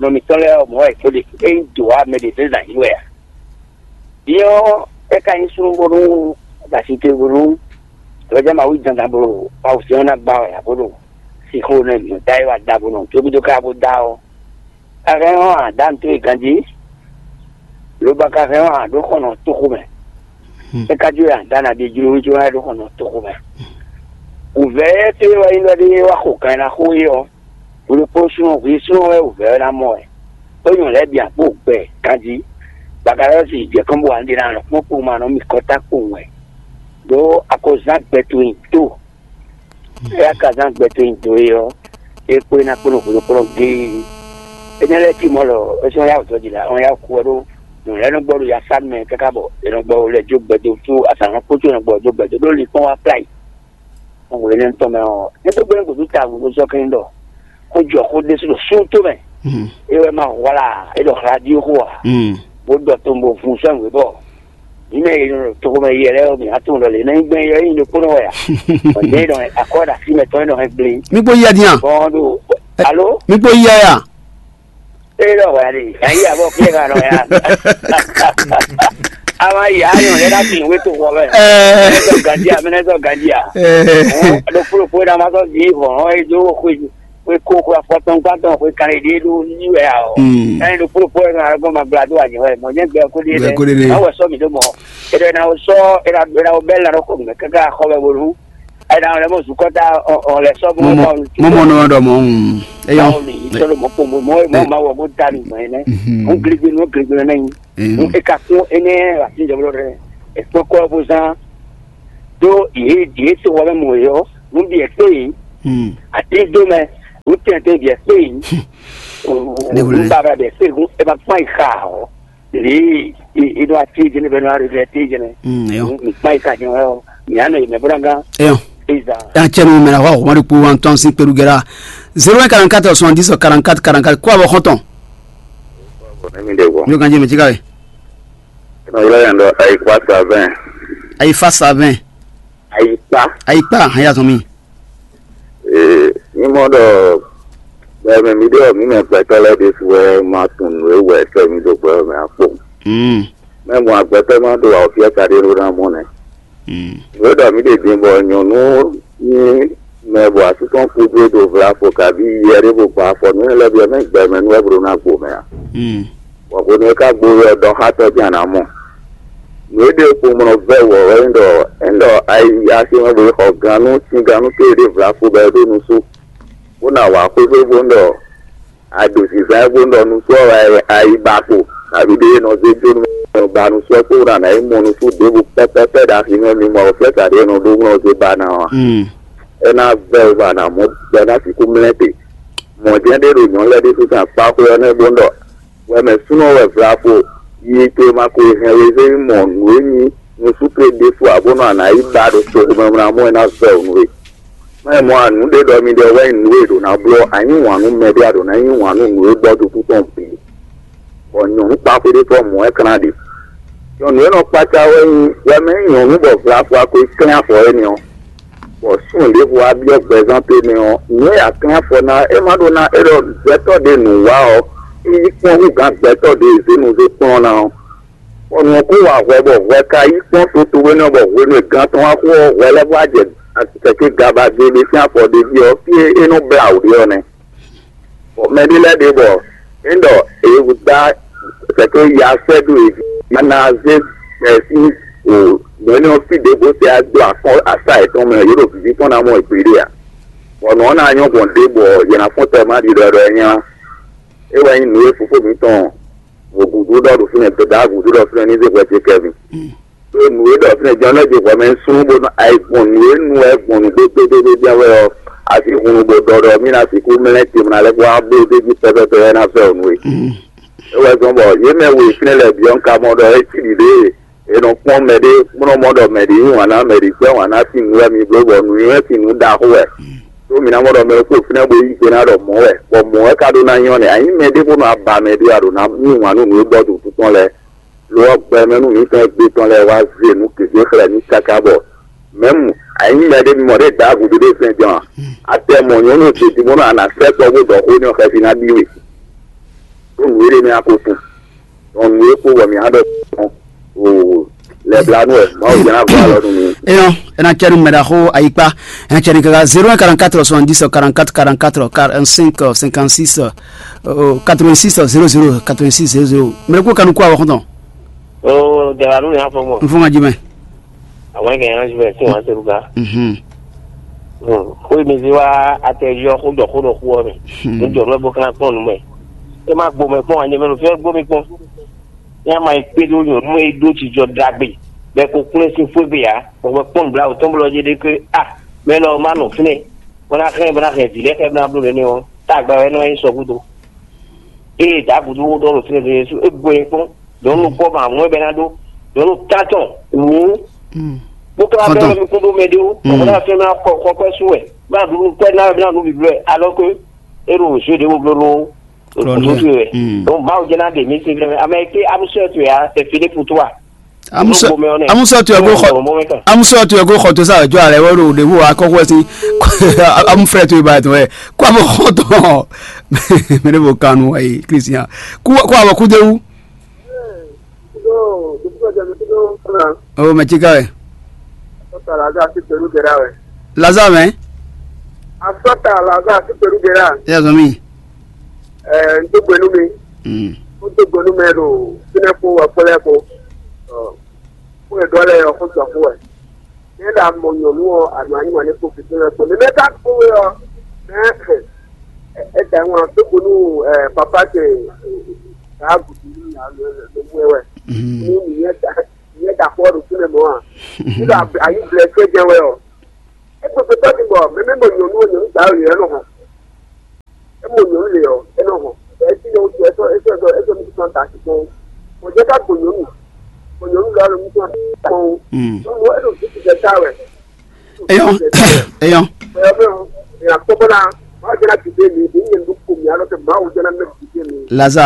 nɔ mǐtɔn lɛ́ɛ ɔ́ mɔ̌ wɛ kpó ɖe. Ényí dǒ wá mɛ ɖě zɛ zǎn yí wɛ ǎ. Din ɔ́, é ka nyí súnnu bónú ɖo asi te bónú vɛ̌jɛ́ Mawu yi dandan bó ɖo awusɛ́n ɔ́ ná gbá wɛ ǎ, bó ɖo sixú nɔ mǐ da é wá da bó nɔ tóbídó ká bó da ɔ́. Ka hɛn ɔ́, a dǎ nǔ towe ganjí, lobo a ka hɛn ɔ́, a ɖǒ xɔnɔ toxo mɛ. É ka jó a dǎ nǎ ɖe jló wú jó wá ɖǒ xɔnɔ toxo mɛ. Wǔvɛ́ tɔ́ e wɛ nyí ɖɔ ɖé wá xo kan e ná xo é ɔ́, hwelokpó súnnu hwi súnnu wɛ wǔvɛ́ ɔ́ ná mɔ wɛ. Ó nyɔ̌ lɛ́ɛ bǐ akpó gbɛ ganjí. Bakalɔ́si jɛ kɔn bó wǎ ɖe ná lɔ̌ kpɔ́n kpowun ma nɔ mì kɔ́ tá kpowun wɛ. Ɖó a ko zán gbɛ towe nyi tó. Éyɛ́ ka zán gbɛ towe nyi do é ɔ́, é kpó é ná kpó nɔ hwelokplɔ́n géé. Énɛ́ lɛ́ɛ cí mɔ̌ lɔ é sɔ́ yá wǔ dɔ́ jǐ la ɔ́ yá kú ɔ́ ɖó nǔ lɛ́ɛ nɔ gbɔ ɖo yasánú mɛ káká bɔ è nɔ gbɔ lɛ jó gbɛdo tó azǎn kpó tó nɔ gbɔ jó gbɛdo ɖó linkpɔ́n wá pláyì. Gbɔn hwenu énɛ́ tɔn mɛ ɔ́, é tó gbɛ́ gǔdo ta gǔdo sɔ́ kɛ́n ɖɔ xó jɔ xó ɖésú ɖo súnnu tó mɛ. É wɛ ma hwlá é ɖɔ radio xó ǎ, bó ɖɔ to bo vun sɛ́n wě bɔ mǐ mɛ e nɔ ɖo toxo mɛ yɛ lɛ́ɛ ɔ́, mǐ ná tunwun ɖɔ lě nɛ́ nyí gbɛn yɔ é nyí ɖokpónɔ wɛ ǎ. Bɔ nyɛ e nɔ akɔ́ ɖo así mɛtɔn e nɔ hɛn gblé. Mi kpó yíyá din a? Bɔn ɖo alo Mi kpó yíyá ya? É ɖɔ wɛ ɖe, yǎ yí abɔ fíɛ ka nɔ ya. Ama yǎ nyɔ lɛ ná fi wé to xɔ mɛ. Ɛɛ. Mɛ nɛ zɔ ganji a, mɛ nɛ zɔ ganji a. Ɛɛ. Ɖokpó ɖokpó ɖe a ma sɔ vi vɔn ɔ́, é dó xwé xwe ko xwe afɔtɔn gbãtɔn xwe kanlin ɖé ɖó yí wɛ ǎ ɔ́. Ɛni ɖo kplɔ́kplɔ́ wɛ ŋa gbɔn ma gbla dó anyɛ wɛ mɔ nyɛ gbɛ ko ɖe Gbɛ ko ɖe ɖe. Awo sɔ mi ɖó mɔ. Eɖɔ na wo sɔ eɖa eɖa wo bɛ la ɖo xɔ mɛ kaka xɔ mɛ bolu. Eɖa wo lɛ mɔ zukɔta ɔ lɛ sɔ Mo mɔ mo mo mɔ nɔ ɖɔ mɔ. Mm. Eyɔ. Awo mi itɔ ɖo mɔ kpombo mɔ mɔ ma wɔ ko da mi gbɔn yɛ nɛ. Mhm. Mo gligbe mo gligbe nɛ yi. Eyɔ. Mo eka kún enɛ la ti jɔ bolo ɖe. Ekpɔkɔ bo zan. Ɖó yě yě to wɔ mɛ mɔ yɔ, nú biɛ kpé yě, Hmm. Atín dó mɛ, nú tɛntɛn biɛ kpé yě, Ne wòle. Nú babla biɛ kpé yě, é ma kpán yi xa ɔ. Lě e ɖo atín jɛnɛ bɛ nɔ arevɛ atín jɛnɛ. Hmm, eyɔ. Mi kpán yi xa jɛnɛ ɔ, mi anɔ yi mɛ bó ná gán. Eyɔ. Eza. Yan cɛ nu mɛ na hɔ wɔn de kpo wan tɔn si kpeɖu gɛra. Zéro un quarante-quatre soixante-dix quarante-quatre quarante-quatre kó abɔ xɔntɔn. Bɔn ne mi de wɔ. Mi kan jɛ mi ti ka ye. Nɔ ylɔ yɛn ɖɔ Ayifa Savɛn. Ayifa Savɛn. Ayifa. Ayifa hɛn ya zɔn mi. Ee, mímɔ ɖɔ gbɛmɛ mi ɖɔ mí mɛ gbɛtɔ́ lɛ́ɛ ɖésú wɛ ma tunwun nǔ e wɛ sɛ́ mì dó gbɛ mɛ ǎ kpowun. Mm. Mɛ mɔ agbɛtɔ́ ma ɖo awɔfíɛ́ ka ɖé ɖó ná mɔ nɛ́. Mm. Nǔ e ɖɔ mí ɖe din bɔ nyɔ̌nu nyí mɛ bɔ asú tɔn kú dó e ɖo vlafo kabí yɛ ɖé bó gba afɔ nǔ e lɛ́ byɔ́ mɛ gbɛmɛ nú wɛ bó ɖó ná gbo mɛ ǎ. Mm. Bɔ hwenu e ka gbo wɛ ɔ́, ɖɔ xá tɔ́ jɛ́n a nǎ mɔ. Nǔ e ɖe kpowun mɔ vɛ́ wɔ wɛ nyí ɖɔ é ɖɔ ayi aximɛ bo yi xɔ gannú sín gannú tó e ɖe vlafo bɔ é ɖó nusú, bó ná wǎ xwé xwé bó ɖɔ a ɖo zǐnzán e bó nɔ nu sɔ́ wɛ a yi ba kpo, kaví ɖé e nɔ zé jó nú mɛ ba nu sɔ́ kpó ná ná yi mɔ nusú ɖěbǔ pɛ́pɛ́pɛ́ ɖo axi mɛ mi mɔ flɛ́sa ɖé e nɔ ɖó nɔ zé ba ná ɔ́, é ná vɛ́ wɛ bɔ a nǎ mɔ bɔ é ná sixú mlɛ́ te. Mɔ̌ jɛ́n ɖé ɖo nyɔ̌nu lɛ́ɛ ɖésú sín akpáxwé ɔ́ nɛ́ bó ɖɔ: Wɛmɛ súnɔ wɛ vlafo, yi to e ma ko hɛn we zé mɔ nǔ e nyí nusúkle ɖésú ǎ bónú a nǎ yi ba ɖo toxo mɛ bó ná mɔ é ná vɛ́ wǔ nú we. Má yi mɔ a nǔ ɖé ɖɔ mi ɖɔ wɛ nyí nǔ e ɖǒ ná bló, a nyí wǎn nú mɛɖé a ɖǒ ná nyí wǎn nú nǔ e gbɔ dó kú tɔn bǐ. Bɔ nyɔ̌nu kpaxwé ɖé tɔn mɔ̌ wɛ klán ɖe. Nyɔ̌nu e nɔ kpácá wɛ nyí wɛmɛ nyí nyɔ̌nu bɔ vlafo a ko yi klɛ́n afɔ énɛ́ ɔ́, bɔ súnnu ɖěvo wá byɔ́ gbɛzán tɔn mɛ ɔ́, nǔ e a klɛ́n afɔ ná é má ɖó ná é ɖɔ gbɛtɔ́ ɖé nǔ wa ɔ́, é yí kpɔ́n hú gǎn gbɛtɔ́ ɖé e zé nu zé kplɔ́n ná ɔ́. Bɔ nǔ ɔ́ kó wa hwɛ bɔ hwɛ ka yí kpɔ́n to towe nɛ́ ɔ́, bɔ hwenu e gǎn tɔn wá xo ɔ́, hwɛ lɛ́ɛ vɔ wá jɛ kɛkɛ́ gaba gbe ɖé sín afɔ ɖé jí ɔ́, fí e é nɔ blá wǔ ɖe ɔ́ nɛ́. Bɔ mɛɖé lɛ́ɛ ɖe bɔ é ɖɔ è dá sɛkɛ ya sɛ́ ɖó è jí ná zé gbɛ sín o nǔ énɛ́ ɔ́ fí ɖěvo tɛ dó akɔ́ asá yětɔn mɛ, yě ɖo vǐví tɔn ná mɔ è gbeɖé ǎ. Bɔ nǔ ɔ́ ná nyɔ́ gbɔn ɖěbǔ ɔ́, yě ná fɔ́n tɛ má ɖi ɖɔ ɖɔ é nyá. É wɛ nyí nǔ e fofó mǐtɔn wǒgúdú ɖɔ ɖo fínɛ́, dó dá gǔdo ɖɔ fínɛ́ ní zé hwɛ ce kɛvin. Ɖó nǔ e ɖɔ fínɛ́ jɔ́n lɛ́ɛ jɛ hwɛ mɛ súnnu bó nɔ ayi gbɔn nǔ e nu wɛ gbɔn nǔ gbégbégbé jɛ́n wɛ ɔ́, a sixú nu bó ɖɔ ɖɔ mí ná sixú mlɛ́ te mlá lɛ́ɛ kó wá bló dó jí pɛ́pɛ́pɛ́ wɛ ná vɛ́ ɔ́ nú we. É wɛ zɔ́n bɔ yě mɛ we fínɛ́ lɛ́ɛ byɔ́ un ka mɔ ɖɔ é cí ɖiɖée. È nɔ kpɔ́n mɛɖé bó nɔ mɔ ɖɔ mɛɖé yí wǎn ná mɛɖé gbɛ́ wǎn ná sín nǔ wɛ mi bló bɔ nǔnywɛ́ sín nǔ ɖaxó wɛ. Ɖó mi ná mɔ ɖɔ mɛ ɖokpó fínɛ́ bó yí gbe ná ɖɔ mɔ̌ wɛ, bɔ mɔ̌ wɛ ka ɖó ná nyɔ́ nɛ́. A nyǐ mɛ ɖé bó nɔ aba mɛ ɖé a ɖǒ ná yí wǎn nú nǔ e gbɔ ɖo wǔtu tɔn lɛ́ɛ. Lo ɔ́, gbɛ mɛ nú mǐtɔn e gbé tɔn lɛ́ɛ wá zé nǔ gěgé xlɛ́ mì káká bɔ mɛ̌mu a nyǐ mɛ ɖé mi mɔ ɖě dǎ gǔdo ɖé fɛ́n din ɔ́, a tɛ mɔ nyɔ̌nu ce din bónú a nǎ sɛ́ kɔ bó ɖɔ xó n'i ɔ́, xɛsi ná ɖi we. Ɖó nǔ e ɖe mɛ a ko tunwun. Dɔn nǔ e kpo bɔ mǐ á ɖɔ gbɔn o lɛblanu wɛ Mawu jɛ ná gɔ́ alɔ nú mi. Eyɔn, ena cɛ nu mɛ ɖaxó ayikpa. Ena cɛ nu kaka zéro un quarante-quatre soixante-dix quarante-quatre quarante-quatre quarante-cinq cinquante-six quatre-vingt-six zéro zéro quatre-vingt-six zéro zéro. Mɛ ko kanu kó awɔ xɔntɔn. O dɛbanu ni afɔ mɔ. N fún ka jumɛn. Àwọn kɛ yan jumɛn tí wọn ṣe lu ka. Mhm. Xó mi zé wá atɛ yɔ xó dɔ xó dɔ xó ɔ mɛ. Ní jɔ lọ bó kán kpɔn nù mɛ. E ma gbó mɛ kpɔn anyɛ mɛ ló fẹ́ gbó mi kpɔn. Ní a ma yi kpé ɖó nyɔ̌nu e ɖó jijɔ ɖagbe, bɔ è ko kplɔ́n sín xwé gbe ǎ, bɔ hwɛ kpɔ́n nǔbláwǔ tɔn blɔ́ jɛ ɖe ké a, mɛ lɔ ma nɔ fínɛ́, bɔ ná xlɛ́ bɔ ná hɛn vǐ lɛ́ɛ xlɛ́ bɔ ná bló nɛnɛ́ ɔ́, tá agba wɛ nɔ nyi sɔ gúdo. Ée dǎgúdo wó ɖɔ ɖo fínɛ́ ɖé sú é gbo nyɛ kpɔ́n, dɔ̌n nukpɔ́ ma mɔ̌ bɛ ná ɖó, dɔ̌n nu tátɔn wǔ, bó ká bɛ mi kún ɖó mɛ ɖé ó, bɔ ná fɛn ná kɔ kɔ kɔ sú wɛ, bá ɖu nukpɔ́ ná wɛ bɛ ná ɖu bǐblɔ́ wɛ, alɔ ké é ɖo zé ɖě wo bló ɖó. Klɔnu. Kutu wɛ. Donc Mawu jɛ na ɖe mi si fɛnɛ. Ame ke amusɔ tu ya e Filipu tu a? Amusɔ amusɔ tu ego xɔ amusɔ tu ego xɔ to sa jɔ alɛ wɛ ɖo ɖevo akɔkɔ si. Amufrɛ tu ba tɔ ɛ kó abo xɔ tɔ. Mɛ ne bo kanu ayi Kristian kó kó abo kú dewu. Yo, dugu jɛ mi kudo fana. O mɛ tsika wɛ. Sɔta la ga si pelu gɛra wɛ. Laza mɛ. Asɔta la ga si pelu gɛra. Ya zɔn mi. Ɛ n tó gbenu mi. Mm. N tó gbenu mɛ ɖo fínɛ kó wɛ kpɔlɛ kó. Ɔ kó yɛ dɔ lɛ yɔ kó jɔ kó wɛ. Ne ɖe a mɔ nyɔnu ɔ, a nɔ anyi wane kpo keke wɛ kpo. Ne mɛ ka kpo wɛ ɔ, mɛ ɛ da ŋua tó gbenu ɛ papa ce. Kaa gudu ni a lɔ lɔ lɔ wɛ wɛ. Ni ni yɛ da yɛ da kpɔ ɖo fínɛ mɔ a. Nígbà ayé blɛ fẹ́ jẹ wɛ ɔ. Ekpekpe tɔ ti bɔ mɛmɛ mɔ nyɔnu ɔ nyɔnu ta yɛ nɔ hɔn. Emɔ nyɔnu le ɔ enɔ hɔn. Esi ne wotu ɛsɔ ɛsɔ ɛsɔ ɛsɔ mi sɔn ta si kpɔn. Mɔ jɛ ka gbo nyɔnu. Mɔ nyɔnu la lɔ mi sɔn ta kpɔn. Nyɔnu ɔ ɛsɔ mi sɔn ta wɛ. Eyɔn, eyɔn. Ɛyɔ mɛ ɔ, ɛyɔ kpɔkpɔ la. Maa jɛ na dide mi, mi nyɛ nu ko mi alɔ tɛ maa wo jɛ na mɛ dide mi. Lazare.